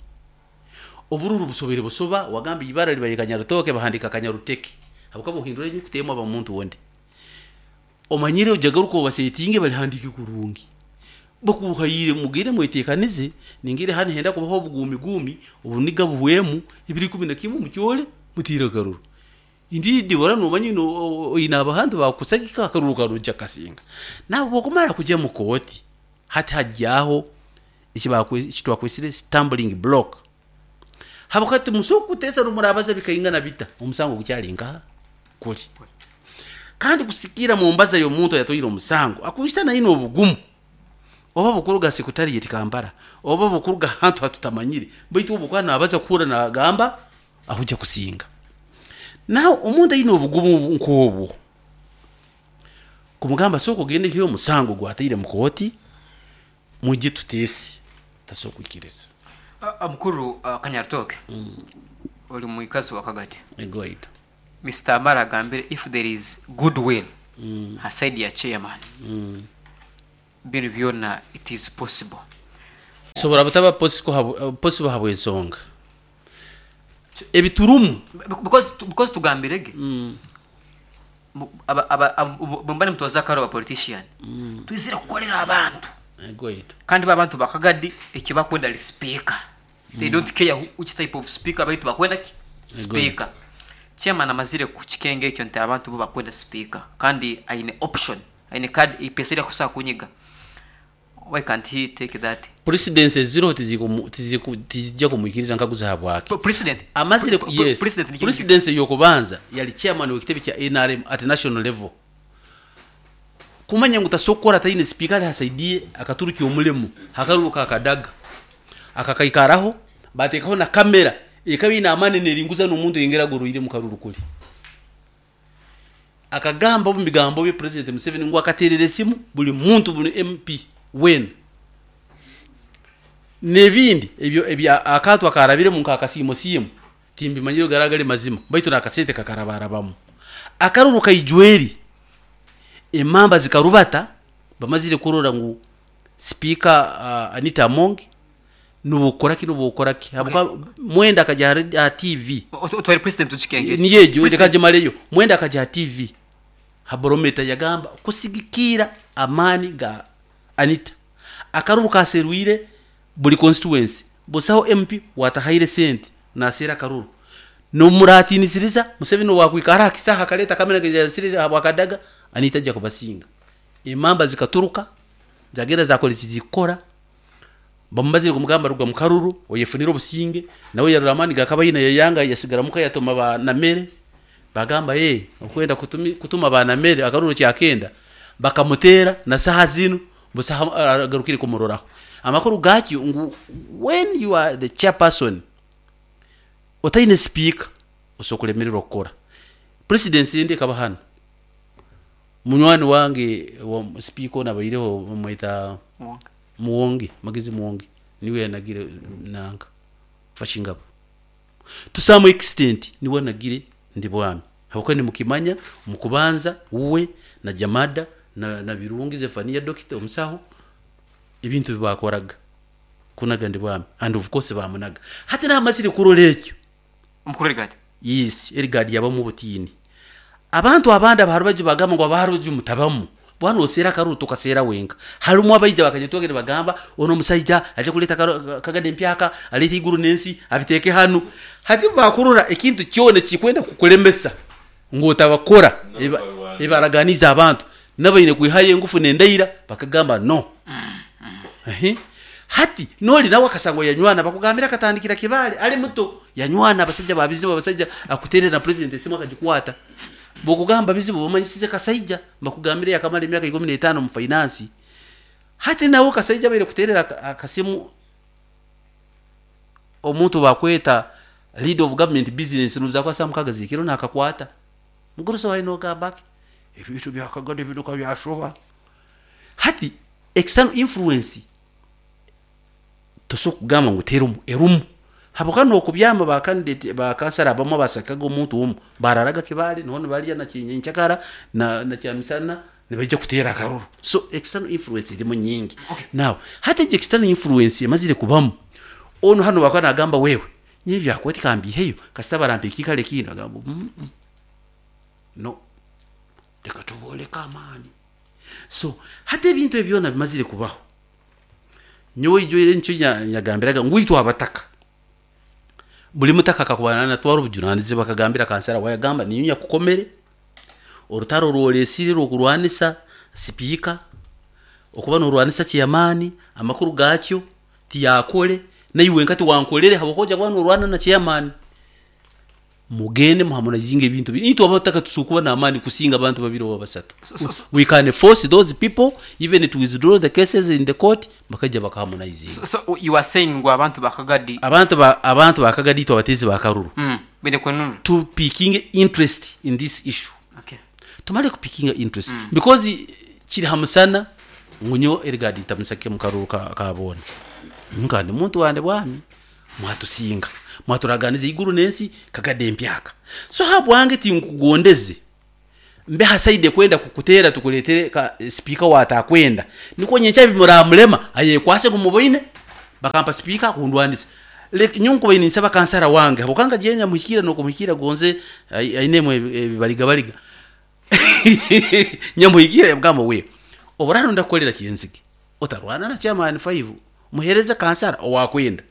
obururu busobere busoba wagamba ibara libaye Kanyarutoke bahandika Kanyaruteke habuka buhindura nyukutemo aba muntu wonde omanyire ujagaruko basetinge bali handike kurungi bakuhayire mugire mwetekanize ningire hani henda kubaho bugumi gumi ubuniga buhwemu ibiri 11 mucyole mutira karuru indidi bora no manyino ina abahantu bakusagika karuru karuja kasinga nabo bokumara kujya mu koti hati hajyaho ikitwa kwesire stumbling block habukati musoku kutesa rumurabaza bikaingana bita omusango gucyalinga kuli kandi kusikira mu mbaza yo muntu yatoyira omusango akuisa na ino obugumu oba bukuruga sekutari yetikambara oba bukuruga hantu hatutamanyire baitu obukwana abaza kura na gamba ahuja kusinga naho omuntu ayine obugumu nkobu kumugamba soko gende hiyo musango gwatire mukoti mujye tutesi tasokwikiriza. Mukuru Kanyarutoke oli muikazi wa Kagadi egoito Mr. Amara agambire if there is goodwill Ha side ya chairman. Binu byona it is possible. Sobora butaba possible habw'ensonga ebiturumu. Because tugambire ge bwemba nimutwaza akaro ba politician twizire kukorera abantu. Gwaitu. Kandi ba abantu bakagadi eki bakwenda ali speaker, they don't care which type of speaker, baitu bakwenda ki speaker. Chairman amazire kukikenga ekyo nti abantu bo bakwenda speaker, kandi aine option, aine card ipesa eri akusobola kunyiga. Why can't he take that? Presidency eziriho tizijja kumwikiriza nkaguza habwaki. President amazire yes. President ni Presidency yokubanza yali chairman w'ekitebe kya NRM at national level, kumanya ngu tasokora taine speaker ali hasaidie akaturukya omulemu hakaruruka akadaga akakaikaraho batekaho na kamera ekaba ine amani neringuza n'omuntu yengera agoroire mu karuru kuli. Akagamba omu bigambo bye President Museveni ngu akaterera esimu buli muntu, buli MP wena n'ebindi ebyo ebya akantu akarabiremu nk'akasiimo simu timbimanyire garagari mazima, baitu nakasente kakarabarabamu. Akaruru kaijweri emamba zikarubata bamazire kurora ngu Speaker Anita Among nubukoraki nubukoraki habuka mwenda akaja ha TV. Otware president tukikenge. Niyejo reka jimaleyo. Mwenda akaja ha TV ha barometa yagamba kusigikira amani ga Anita akaruru kaserwire buli constituency busaho MP watahaire sente nasera akaruru nomuratinisiriza Museveni wakwikara akisaha akaleta kamera gazasiriza habwakadaga Anita ajja kubasinga. Emamba zikaturuka zagenda zakora zikora bamubazire kumugamba ruga mukaruru oyefunira obusinge nawe yarura amani gakaba yina yayanga yasigara muka yatoma ba namere bagamba ye okwenda kutuma ba namere akaruru kyakenda bakamutera na saha zinu busaha agarukire kumuroraho. Amakuru gakyo ngu when you are the chairperson otaine speaker osokulemererwa kukora presidency ndi kaba hano munywani wange wa speaker nabaireho bamwita Muwonge. Muwonge, Magezi Muwonge niwe yanagire nanga fashingabo to some extent niwe nagire ndi bwami habwo nimukimanya mukubanza uwe na Jamada na Birungi Zefania doctor omusaho ebintu bibakoraga kunaga ndi bwami and of course bamunaga hati namasire kurora ekyo. Omukuru Erigadi. Yes, Erigadi yabamu obutiini abantu abandi abaharubaji bagamba ngu abaharubaji mutabamu bwana osera akaruru tukasera wenka. Harimu abaija bakanyetwagere bagamba ono omusaija aje kuleta kagade empyaka aleta iguru n'ensi abiteeke hanu. Hati bakurura ekintu kyona kikwenda kukulemesa ngu otabakora ebaraganiza abantu nabaine kwihayo engufu nendaira bakagamba no. Ehe. Hati noli nawe akasango yanywana bakugambira akatandikira kibale ali muto yanywana abasajja babizibu abasajja akuterera na president esimu akagikwata bokugamba bizibu bamanyisize kasaija bakugambira yakamara emyaka 15 mu finance. Hati nawe kasaija baire kuterera akasimu omuntu bakweta lead of government business nuza kwa samu kagazikiro nakakwata muguruso waino gamba ebintu byakagade biduka byashoba. Hati external influence tosobola kugamba ngu terumu erumu habuka nokubyamba ba candidate ba kansara abamu basakaga omuntu omu bararaga kibale none balya na kinyenchakara na kyamisana nibaija kuteera akaruru. So external influence erimu nyingi. Now hati egi external influence emazire kubamu ono hano bakaba nagamba wewe nyewe byakwati kambiheyo kasita barampa ekikale kino agamba no reka tuboleka amaani. So hati ebintu ebyo byona bimazire kubaho nyowe ijo nicyo nyagambiraga ngu itwe abataka buli mutaka akakubana natwara obujunanizibwa akagambira kansara wayagamba niyo nyakukomere orutaro rworesire rwokurwanisa sipiika okuba norwanisa chairman amakuru gakyo tiyakole naiwe nkati wankolere habwokuba kuba norwana na chairman mugende muharmonizinge ebintu itwe abataka tusobola kuba n'amaani kusinga abantu babiri oba basatu. We can force those people even to withdraw the cases in the court bakajja bakaharmonizinga. So you are saying ngu abantu bakagadi abantu bakagadi itwe abatezi bakaruru bene kwenunu to picking interest in this issue. Okay. Tumale kupikinga interest because kiri hamusana ngunyo Erigadi tamusake mukaruru kabona nkandi muntu wande bwami mwatusinga mwaturaganiza iguru nensi kagade empyaka. So habwange tinkugondeze Mbe ha side ekwenda kukuteera tukureetere ka sipiika owaatakwenda. Nikwo nyenkya bimuramurema ayekwase ngu muboine bakampa sipiika kundwanisa. Leka nyowe nkubaire ninsaba kansara wange habwokuba nkagiire nyamuhikiira n'okumuhikiira gonze ainemu ebibarigabariga. Nyamuhikiira yamugamba we obu oraaba ndakukorera Kyenzige otarwana na chairman five muheereze kansara owakwenda.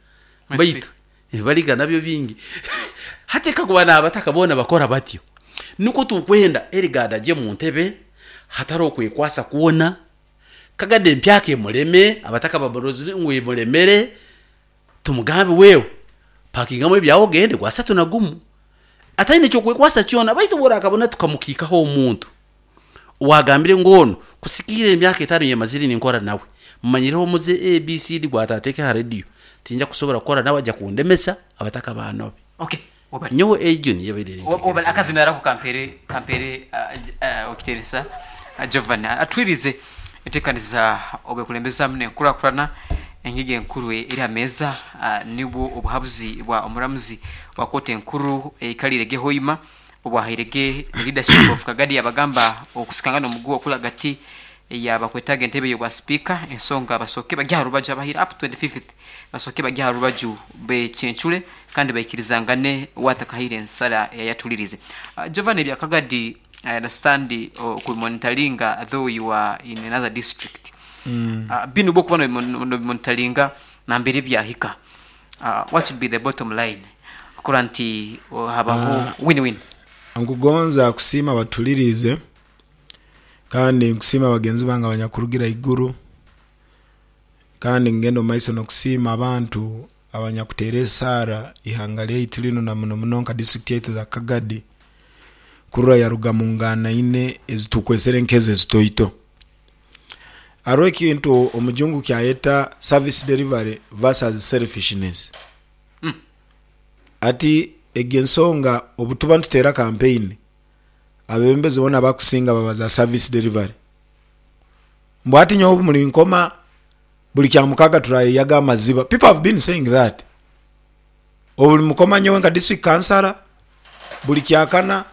Baitu ebibariga nabyo bingi. Hati kakuba n'abataka boona bakora batyo, nikwo tukwenda Eligard agye mu ntebe hatariho kwekwasa kwona, Kagadi empyaka emureme, abataka bamurozire ngu emuremere, tumugambe wewe pakingamu ebyawe ogende gwasatu na gumu. Ataine ky'okwekwasa kyona, baitu obu orakabona tukamukiikaho omuntu owagambire ngu onu kusikiira emyaka etaano eyemazire ninkora nawe, Mmanyireho omuze ABCD gwa taateeke aha rediyo, tinja kusobora kukora nawe aja kundemesa abataka baanobe. Okay, webale. Nyowe egyo niyo ebaire eri Webale, enteekereza akazinda yange. ako kampeere kampeere owekitiinisa Jovan atwirize enteekaniza obwekulembeza n'enkurakurana engiga enkuru eri aha meeza nibwo obuhabuzi bwa omuramuzi wa kooti enkuru eikariire ge Hoima obwahaire ge the leadership of Kagadi yabagamba okusikangana omuguwa okuri ahagati Yaaba akwetaaga entebe y'obwa sipiika, ensonga basooke bagye aha rubaju abahaire up 25th basooke bagye aha rubaju becencure kandi baikirizangane waatakahaire ensara eyayatulirize. Jovan ebya Kagadi I understand okubimonitaringa though you are in another district. Binu obwokuba nobimonitaringa nambere byahika what should be the bottom line kurora nti habaho win win? Nkugonza kusiima abatuliriize. Kandi nkusiima bagenzi bange abanyakurugira iguru, kandi ngenda omu maiso n'okusiima abantu abanyakuteera esaara ihanga lyaitu linu na muno muno nka disiturikiti yaitu eza Kagadi kurora yaruga mu nganaine ezitukwesere nk'ezo ezitoito. Haroho ekintu omujungu kyayeta service delivery versus selfishness. Hati egi ensonga obutuba nituteera kampeyini, Abebembezi bona abakusinga babaza service delivery mbu hati nyowe obu mulinkoma buli kyamukaga turayeyaga amaziba people have been saying that obulimukoma nyowe nka district councillor buli kyakana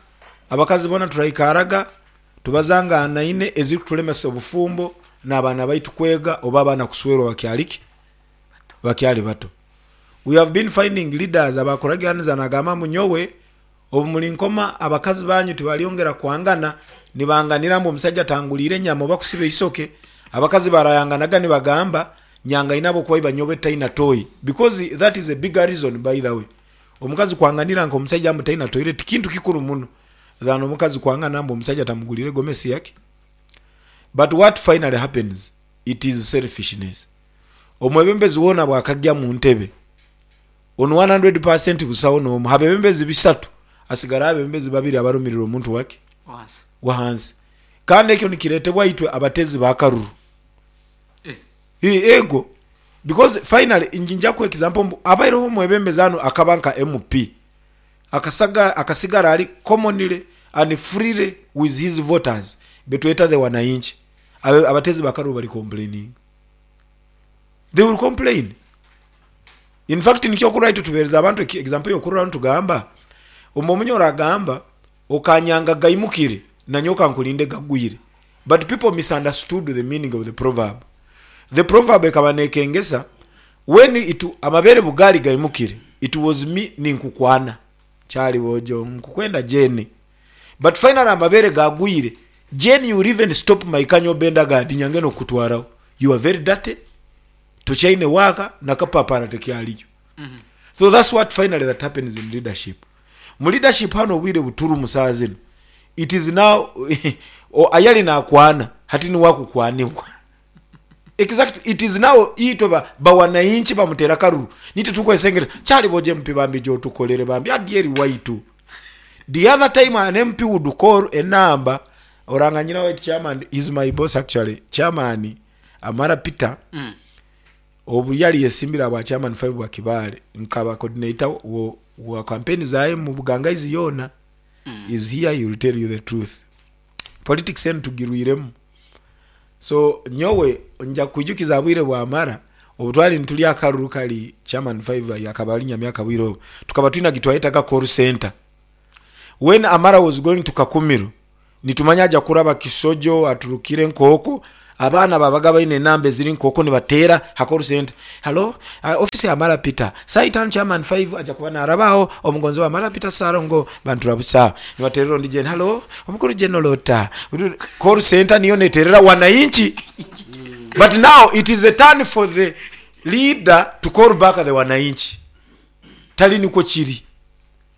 abakazi bona turaikaraga tubazanganaine ezirikutulemesa obufumbo nabaana baitu kwega oba abaana kuswerwa bakyali ki bakyali bato we have been finding leaders abakuraganiza nagamba mbu nyowe Obu mulinkoma, abakazi banyu tibalyongera kwangana nibanganira mbu omusaija tanguliire nyama oba kusiba eisoke. Abakazi barayanganaga nibagamba, Nyangaine ahabw'okuba iba nyowe taina toyi. Because that is a bigger reason by the way. Omukazi kwanganira nka omusaija mbu taina toilet kintu kikuru muno than omukazi kwangana mbu omusaija tamuguliire gomesi yaki. But what finally happens, it is selfishness. Omwebembezi woona bwakagya mu ntebe, On 100% busaho n'omu ha bebembezi bisatu asigara abebembezi babiri abarumirira omuntu wake wahansi. Kandi ekyo nikiretebwa itwe abatezi b'akaruru. Ego, because finally nja kuha example mbu abaireho omwebembezi hanu akaba nka MP akasaga akasigara ari commonly and freely with his voters betweta the wananchi. Abatezi b'akaruru bari complaininga. They will complain. In fact nikyo okurora itwe tubereza abantu example yokurora nitugamba omu omunyoro agamba okanyanga gaimukire nanye okankulinde gagwire but people misunderstood the meaning of the proverb. The proverb ekaba nekengesa when it amabere bugali gaimukire it was me ninkukwana kyali bojo nkukwenda Jane but finally amabere gagwire Jane you will even stop my kanyo benda gadinya ngene okukutwaraho you are very dirty Tokyaine waaka na kapapara tekyaliyo. So that's what finally that happens in leadership. Mu leadership hanu obwire buturimu saaha zinu, it is now ayali nakwana hati niwe akukwanibwa. Exactly, it is now itwe ba bawanainchi bamutera akaruru nitwe turikwesengereza kyali bojo MP bambi gyotukolere bambi adyeri waitu. The other time an MP would call a number oranganyira waitu chairman is my boss actually chairman Amara Peter obu yali yesimbire aha bwa chairman 5 bwa Kibaale nkaba coordinator wa campaign zaye mu Bugangaizi yoona is here he will tell you the truth. Politics enu tugirwiremu so nyowe nja kukwijukiza aha bwire bwa Amara obu twali nitulya akaruru kari chairman 5 akaba ari Nyamyaka bwire obwo tukaba twine agitwayetaga call center when Amara was going to Kakumiro. Nitumanya aja kuraba Kisojo aturukire nk'okwo, abaana babaga baine enamba eziri nk'okwo nibateera ha call centre, Hallo, office ya Mara Peter, saaha itaanu chairman five aja kuba naaraba agho, omugonzi wa Mara Peter Ssalongo Bantura busa. Nibateerera ondi Jane, Hallo, omukuru General ota? Call centre niyo neteerera wananchi but now it is a turn for the leader to call back the wananchi. Tali nikwo kiri.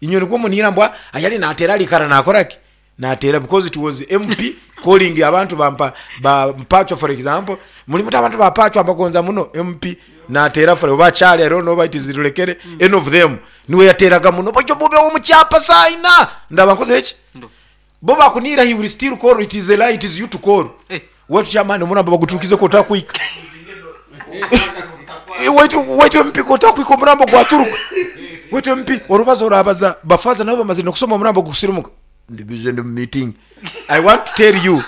Inywe nikwo muniira mbu ayali nateera alikara nakora ki? Nateera because it was MP calling abantu ba mpa ba Mpachwa for example, muli muti abantu ba Pachwa mbagonza muno, MP nateera for oba Chali I don't know oba it is Lulekere, any of them niwe yateeraga muno baitu mubeho omu kyapa saaha ina ndaba nkozire ki? Bo bakuniira he will still call it is a lie it is you to call. Waitu chairman omurambo baguturukize kotakwika. Waitu waitu MP kotakwika omurambo gwaturuka. Waitu MP orubazo orabaza bafaza nabo bamazire nokusoma omurambo gusirimuka. Ndi busy ndi mu meeting. I want to tell you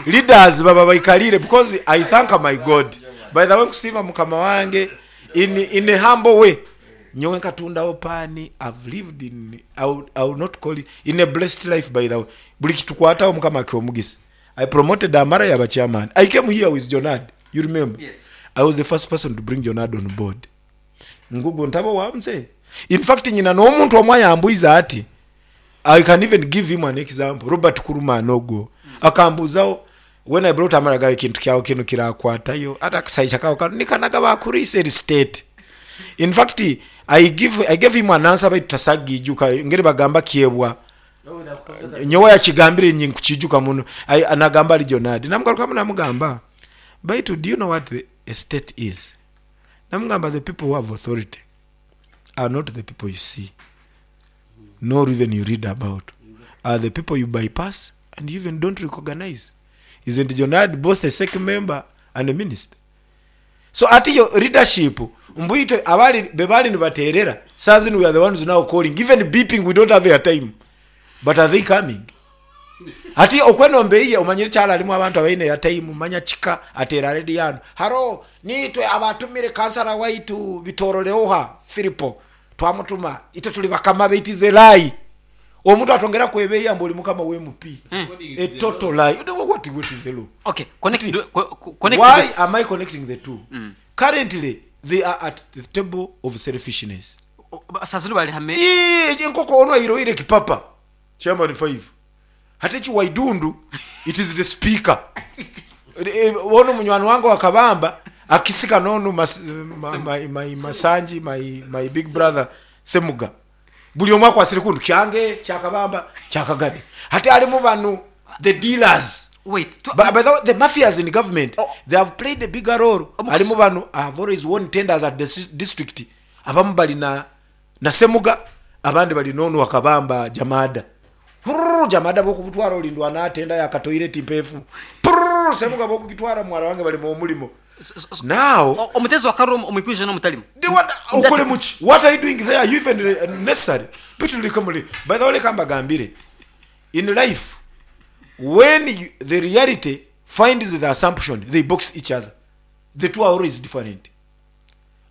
leaders baba baikalire because I thank my God. By the way nkusiima mukama wange in in a humble way. Nyowe nkatundaho paani, I've lived in, I will, I will not call it, in a blessed life by the way. Buli kitukwataho mukama akiha omugisa. I promoted Amara yaba chairman. I came here with Jonard, you remember? Yes. I was the first person to bring Jonard on board. Ngugu ntaba owa mzee. In fact nyina n'omuntu omwe ayambuize ati, I can even give him an example, Robert Kurumana ogwo akambuzaho when I brought Amara gawe ekintu kyawe kinu kirakwatayo ati akasaija kawe kanu nikanaga bakurisa eri state. In fact I give, I gave him an answer baitu tasagiijuka engeri bagamba kyebwa. Nyowe yakigambire inye nkukiijuka muno. I, nagamba ari Jonadi. Namugarukamu namugamba, baitu do you know what the estate is? Namugamba the people who have authority are not the people you see nor even you read about, are the people you bypass and you even don't recognize. Isn't Jonadi both a SEC member and a minister? So ati yo leadership mbu itwe abali bebali nibaterera saa zinu we are the ones now calling even beeping we don't have airtime but are they coming? Ati okwenomba eiye omanyire kyalo alimu abantu abaine airtime manya kika ateera radio hanu haro niitwe abatumire kansala waitu Bitoroleoha Philipo twamutuma itwe tuli bakama be it is a lie omuntu atongera kwebeeya mbu oli mukama w'MP a total lie what, what is a law? Okay, connect, do, connect Why dots. am I connecting the two? Currently, they are at the table of selfishness. Saa zinu bali hame. Ii, enkoko onu airoire kipapa chairman 5 hati eki Waidundu it is the speaker. Onu munywani wange wa Kabamba akisika nonu mas, ma, my, my, Masanji my, my big brother Semuga buli omwe akwasire kundu kyange kya Kabamba kya Kagadi hati harimu banu the dealers. Wait, to, But, by the way, the mafias in government, Oh. they have played a bigger role. Omukus- Harimu banu have always won tenders at the district. Abamu bali na na Semuga, abandi bali nonu wakabamba Jamada. Purr, Jamada bokubutwara olindwa na tenda ya katoilet mpefu. Purr, Semuga bokukitwara mwara wange bali mu mulimo. Now, omutezi wa karuru omukwije n'omutalimu. they want okole muki? What are you doing there? You even necessary. Bitulike muli. By the way, leka mbagambire. In life, when you, the reality finds the assumption, they box each other. The two are always different.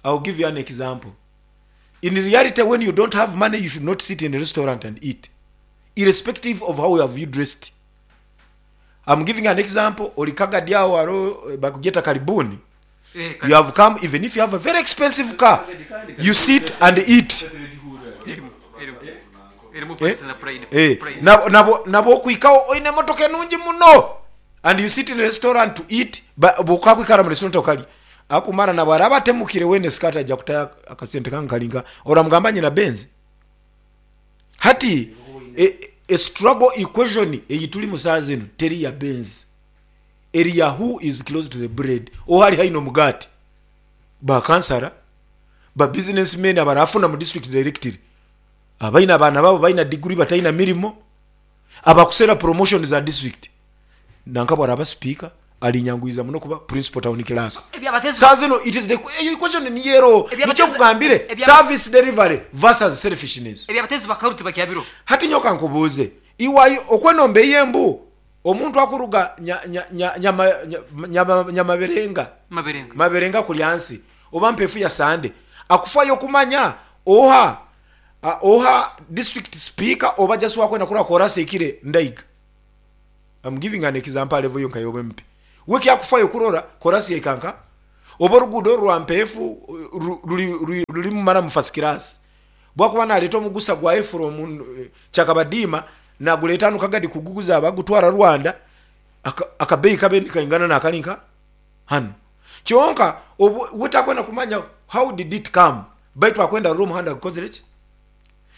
I'll give you an example. In reality, when you don't have money, you should not sit in a restaurant and eat, irrespective of how have you dressed. I'm giving an example. Olikaga diao aro bakugeta karibuni. You have come, even if you have a very expensive car, you sit and eat. Eh, nabo kwikaho oine emotoka enungi muno and you sit in a restaurant to eat, bwokakwikara mu restaurant okali akumara nabo araba atemukire wene skirt aja kutaya akasente kange kalinga oramugamba nyina Benz. Hati a struggle equation eyituli musaa zino teri ya Benz, eri ya who is close to the bread ohali haino mugati ba kansara ba businessmen abarafuna mu district directory abaina abaana babo baina degree bataina mirimo abakusera promotion za district nanka bwaraba speaker alinyanguiza muno kuba principal town clerk. Saa zino it is the eyo equation ni yero nikyo kugambire service delivery versus selfishness. Ebyabatezi bakaruti bakyabiro. Hati nyoka nkubuuze iwayo okwenomba eyembu omuntu akuruga nyamaberenga Maberenga. Maberenga kulyansi oba mpefu ya sande akufayo kumanya oha oha district speaker oba just wakwenda kura korasa ekire ndaiga. Am giving an example aha level yo nka y'obu MP. We ekyakufayo kurora korasi yaika nka oba oruguudo oru rwa Mpeefu ruri ruri maramu first class. Bwakuba naleeta omugusa gwaye from Kyakabadiima nagureeta hanu Kagadi kuguguza abagutwara Rwanda, akabeeyi kabe nikaingana nakari nka hanu. Kyonka obu we takwenda kumanya how did it come baitu akwenda arore omuhanda gukozire ki.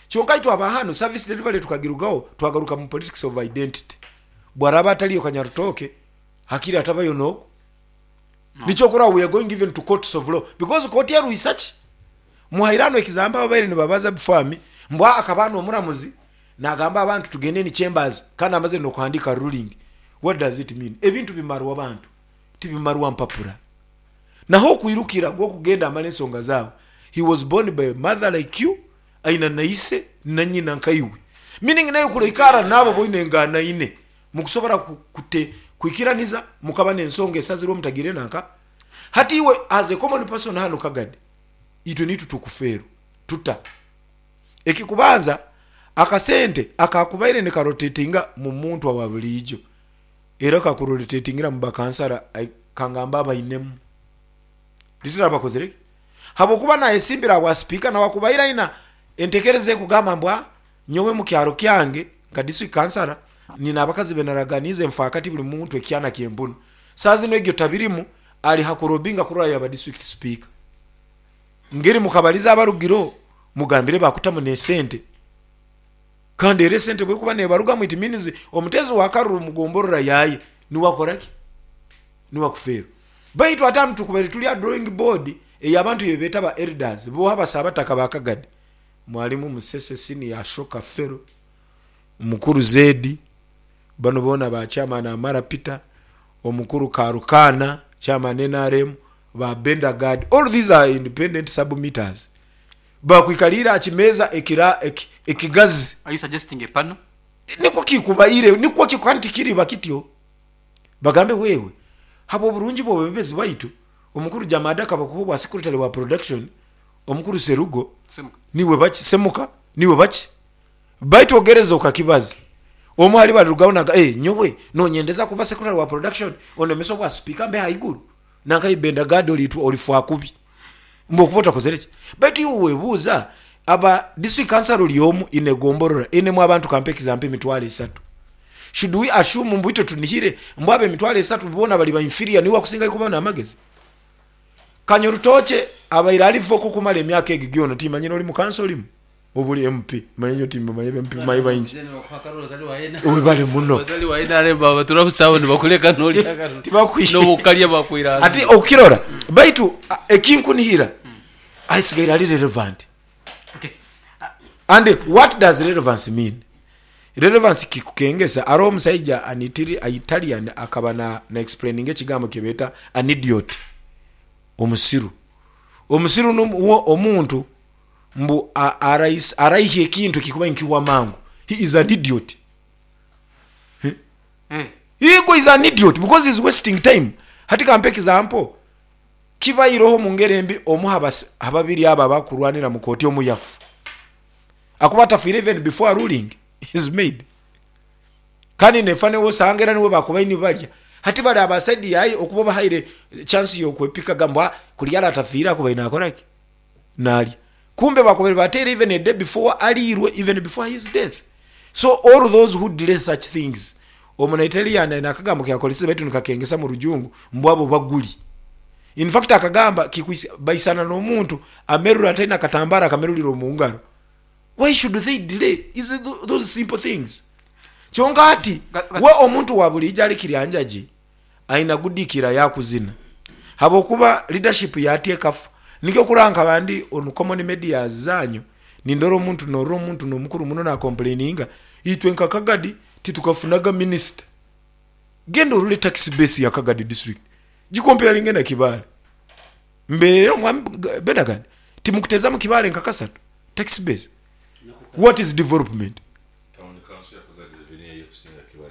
Kyonka itwe aba hanu service delivery tukagirugaho twagaruka mu politics of identity. Bwaraba atariyo Kanyarutooke hakiri atabayo nogu. Nikyo okurora we are going even to courts of law because kooti erwisa ki? Muhaire hanu example ababaire nibabaza before me mbu akaba hanu omuramuzi nagamba abantu tugende in chambers kandi amazire nokuhandika ruling. What does it mean? Ebintu bimarwa bantu tibimarwa mpapura. Naho okwirukira gwokugenda amare ensonga zawe. He was born by a mother like you aina na ise na nyina nkaiwe. Meaning naiwe kuroikara naabo boine enganaine mukusobora kute kwikiraniza mukaba nensonga esazirwe mutagire nanka. Hati iwe as a common person hanu Kagadi itwe nitwe tukufeerwa tuta? Ekikubanza akasente akakubaire nikarotatinga mu muntu owa buriijo era kakurotatingira mu bakansara kangambe abainemu. Literally bakozire ki? Habwokuba nayesimbire ahabwa sipiika nawakubaire aina entekereza ekugamba mbu nyowe mukyaro kyange nka district kansara nina abakazi benaraganiize nfaakati buri muntu ekyana ky'empunu. Saaha zinu egyo tabirimu ari hakurobinga kurora yaba district sipiika. Ngeri mukabariza abarugireho mugambire bakutamu n'esente. Kandi era esente bwekuba nebarugamu it means omuteezi wa karuru mugomborora yaye niwe akoraki? Niwe akufeerwa. Baitu ate hanu tukubaire turi aha drawing board ey'abantu eyi beeta ba elders boha basabataka ba Kagadi mwarimu Musese Senior Ashoka Fellow, Mukuru Zedi, banu boona ba chairman Amara Peter, Omukuru Karukaana chairman nrm, ba Benda Gad, all these are independent submitters bakwikariire aha kimeeza ekira ekigazi. Are you suggesting a panel? Nikwo kikubaire, nikwo kikubaire kandi tikiriba kityo. Bagambe wewe, habw'oburungi bw'obwebembezi bwaitu, Omukuru Jamada akaba kuha obwa secretary wa production, Omukuru Serugo niwe baki, Semuka niwe baki. Baitu ogereza okakibaza, omu hali barirugaho naga, eh, nyowe nonyendeza kuba secretary wa production onemesa obwa speaker mbe haiguru? Nanka Ibenda Gad oriitwa orifwa kubi mbu okuba otakozire ki? Baitu iwe webuuza, aba district council ori omu in egomborora einemu abantu kampe example emitwaro esatu, should we assume mbu itwe tunihire mbu abo emitwaro esatu boona bari ba inferior niwe akusingayo kuba namagezi? Kanyorutookye abaire ari vocal okumara emyaka egi gyona timanyire ori mu council orimu oba ori MP manya nyowe timbamanya ba MP manya baingi. Webale muno. Hati okukirora baitu ekinkunihira asigaire ari relevant. And what does relevance mean? Relevance kikukengesa haroho omusaija an Italian akaba na explaininga ekigambo kyebeeta an idiot, omusiru. Omusiru nuwe omuntu mbu araihya ekintu ekikuba nikihwa mangu. He is an idiot. He is an idiot because he is wasting time. Hati kampe example, kibaireho omu ngeri embi omu ha babiri abo abakurwanira mu kooti omu yafa. Akuba atafiire even before a ruling is made. Kandi nefa niwe osanga era niwe bakubaire nibarya. Hati bari aba side yaye okuba obahaire chance yokwepikaga mbu kuri aratafiire akubaire nakora ki? Narya. Kumbe bakubaire bateire even a day before ariirwe even before his death. So all those who delay such things, Omunaitalian aine akagambo keyakoresize baitu nikakengesa mu rujungu mbu abo baguri. In fact akagamba kikwisa baisana n'omuntu amerura ataine akatambara akamerurire omu ngaro. Why should they delay is those simple things? Kyonka hati we omuntu wa buriijo ari Kiryanjagi aine gudikira yakuzina habwokuba leadership yati ekafa. Nikyo okurora nkaba ndi on common medias zanyu nindora omuntu norora omuntu nomukuru muno na complaininga itwe nka Kagadi titukafunaga minister. Genda orore tax base ya Kagadi district gikompeyaringe na Kibaale. Mbeera omwami Benagad timukutezamu Kibaale nka kasatu tax base. What is development?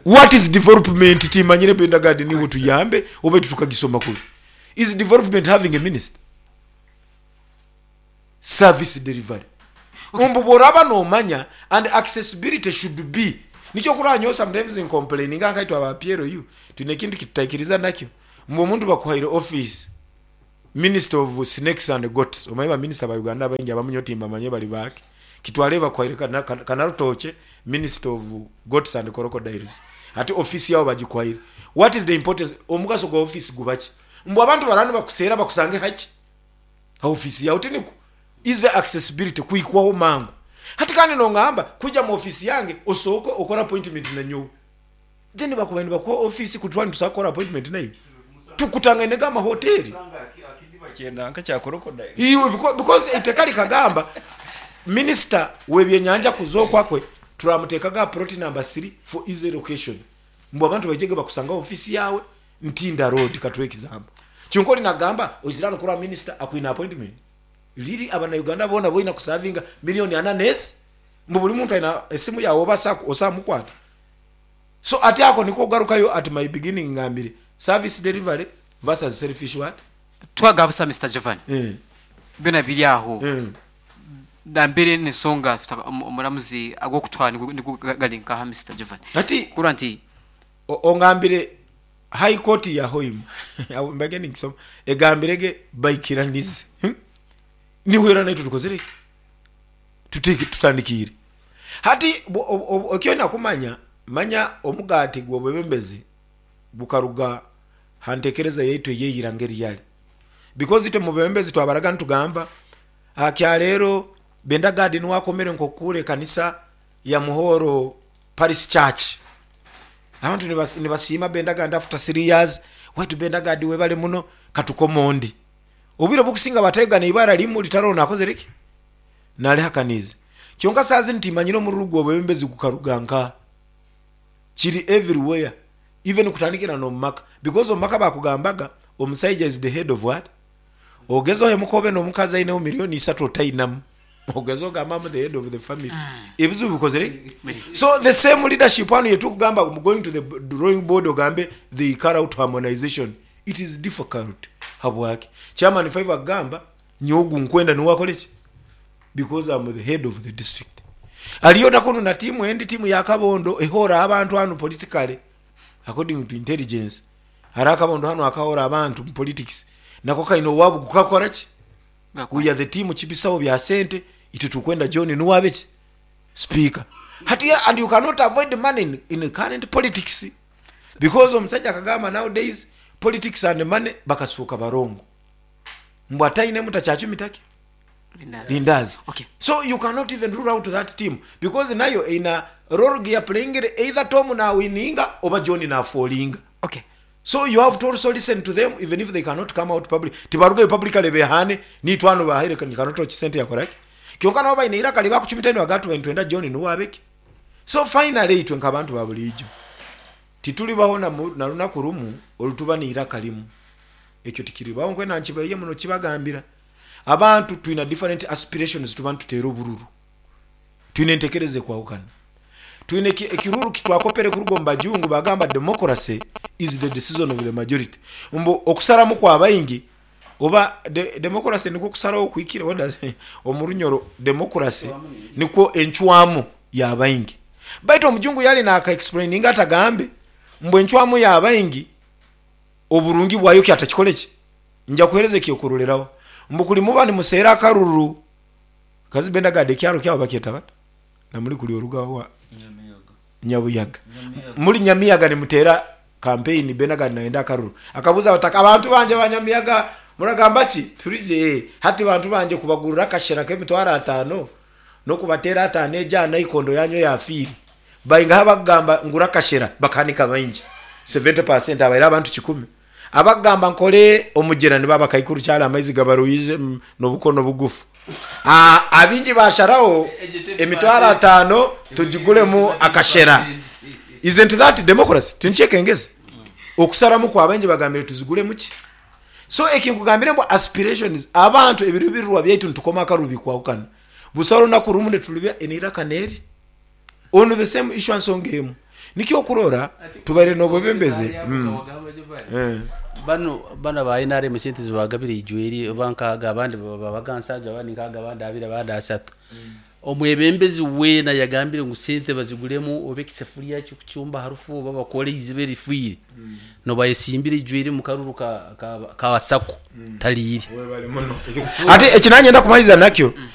What is development? Timanyire Benagad niiwe otuyambe oba itwe tukagisoma kubi. Is development having a minister? Service delivery. Mbu bworaba nomanya and accessibility should be. Nikyo okurora nyowe sometimes ncomplaininga nkaitwe aba PLU twine ekintu kitutaikiriza nakyo mbu omuntu bakuhaire office minister of snakes and goats omanye ba minister ba Uganda abaingi abamu nyowe timbamanyire bari baaki kitware bakuhaire Kanarutookye minister of goats and crocodiles hati office yawe bagikuhaire what is the importance omugaso gwa office gubaki mbu abantu baraba nibakuseera bakusange haki ha office yawe tinikwo Easy accessibility, kuhikwaho mangu. Hati kandi nongamba kwija mu office yange osooke okore appointment nanyowe. Then bakubaire nibakuha office kuri twaba nitusobola kukora appointment naiwe? Tukutangaine ga amahoteri. Iwe because eiteka rikagamba minister w'ebyenyanja kuza okwakwe turamuteekaga aha plot number 3 for easy location. Mbu abantu baijege bakusange aha office yaawe Ntinda road katuhe example. Kyonka ori nagamba oizire hanu kureba minister akwine appointment. Really abanauganda boona boine kusavinga million ana nesi? Mbu buri muntu aine esimu yawe oba osobola mukwata? So ati ako niko ogarukayo at my beginning ngambire service delivery versus selfish what? Twagaba busa Mister Jovan. Byona biri aho. Nambere nensonga omuramuzi agokutwara nigo gari nkaha Mister Jovan? Hati Kurora nti. Ongambire High Court ya Hoima aho mbaire ninkisoma egambire ge baikiranize nihwera naitwe tukozire ki? Tuteki tutandikiire. Hati eki oine kumanya, manya omugaati gw'obwebembezi gukaruga ha ntekereza yaitu ey'eira ngeri yari. Because itwe mu bwebembezi twabaraga nitugamba aha kyaleero Benda Gad niwe akomere nk'okukuura ekanisa ya Muhoro Parish Church. Abantu nibasiima Bendagard after 3 years, waitu Bendagard webale muno katukome ondi. Obwire obukusinga batega neibara rimu ritariho nakozire ki? Narihakaniize. Kyonka saaha zinu timanyire omururu gw'obwebembezi gukaruga nkaha. Kiri everywhere even kutandikira n'omumaka because omumaka bakugambaga omusaija is the head of what? Ogeze ohemuke obe n'omukazi aineho milioni isatu otainamu. Ogeze ogambe am the head of the family. Ebizibu bikozire ki? So the same leadership hanu yetukugamba mbu going to the drawing board ogambe they carry out harmonization. It is difficult. Habwaki? Chairman Five akugamba nyowe ogu nkwenda niwe akore ki? Because am the head of the district. Aliyo na kunu na tiimu endi tiimu ya Kabondo ehoora abantu hanu politically according to intelligence. Hariho akabondo hanu akahoora abantu mu politics nako kaine owaabo gukakora ki? We are the team kibisaho bya sente itwe turikwenda John niwe abe ki? Speaker. Hati and you cannot avoid money in, in current politics because omusaija akagamba nowadays politics and money bakasuuka barongo mbu atainemu takyacumita ki? Lindazi. Okay. So you cannot even rule out that team because nayo eine role geyaplayingire either Tom nawininga oba John nafolinga. Okay. So you have to also listen to them even if they cannot come out public. Tibarugayo publicly behane nitwe hanu bahaire cannot sente yakora ki? Kyonka nabo baine eiraka ribakucumita nibagamba tubaire nitwenda John nuwe abe ki? So finally itwe nkabantu ba buriijo tituribaho na runaku rumu orutuba neiraka rimu. Ekyo tikiribaho nkwenda nkibaiye muno kibagambira. Abantu twine different aspirations tuba nituteera obururu. Twine entekereza ekwahukana. Twine ekiruru kitwakopere kuruga omu bajungu bagamba democracy is the decision of the majority. Mbu okusaramu kwa baingi oba democracy nikwo okusaraho okuhikire? What does omu Runyoro democracy nikwo encwamu ya baingi. Baitu omujungu yali naka explaininga ati agambe mbu encwamu ya baingi oburungi bwayo ki atakikore ki? Nja kuhereza ekyokuroreraho mbu kuri muba nimuseera akaruru Kazi Bendagard ekyaro kyabo bakyeta bata? Na muri kuri oruga wa Nyabuyaga. Muri Nyamiyaga nimuteera kampeyini Bendagard nayenda akaruru. Akabuuza abataka, Abantu bangye ba Nyamiyaga muragamba ki? Turi gye. Hati bantu bangye kubagurira akashera k'emitwaro ataano n'okubateera ataano egyo aha naikondo yaanyu eyafiire. Baingahi abakugamba ngura akashera bakahanika baingi? 70% abaire abantu kikumi. Abakugamba nkore omugyera nibo abakaikuru kyari amaizi gabaruhije nobukono bugufu. Abaingi basharaho emitwaro ataano tugiguremu akashera. Isn't that democracy? Tinkyekengeza? Okusaramu kwa baingi bagambire tuziguremu ki? So eki nkugambire mbu aspirations abantu ebirubirirwa byaitu nitukoma akarubi kwahukana. Busaho runaku rumwe niturubya eneiraka neri on the same issue aha nsonga emu. Nikyo okurora tubaire nobwebembezi. Banu banu aba NRM esente zibagabire ijweri oba nkaaga abandi babaga nsanju abandi nkaaga abandi abiri abandi ashatu. Omwebembezi weena yagambire ngu sente baziguremu oba ekisefuriya ky'okucumba aha rufu oba bakore eiziba erifiire nooba ayesimbire ijweri omu karuru ka ka ka sacco tariire. Webale muno. Ati eki nanyenda kumaliza nakyo.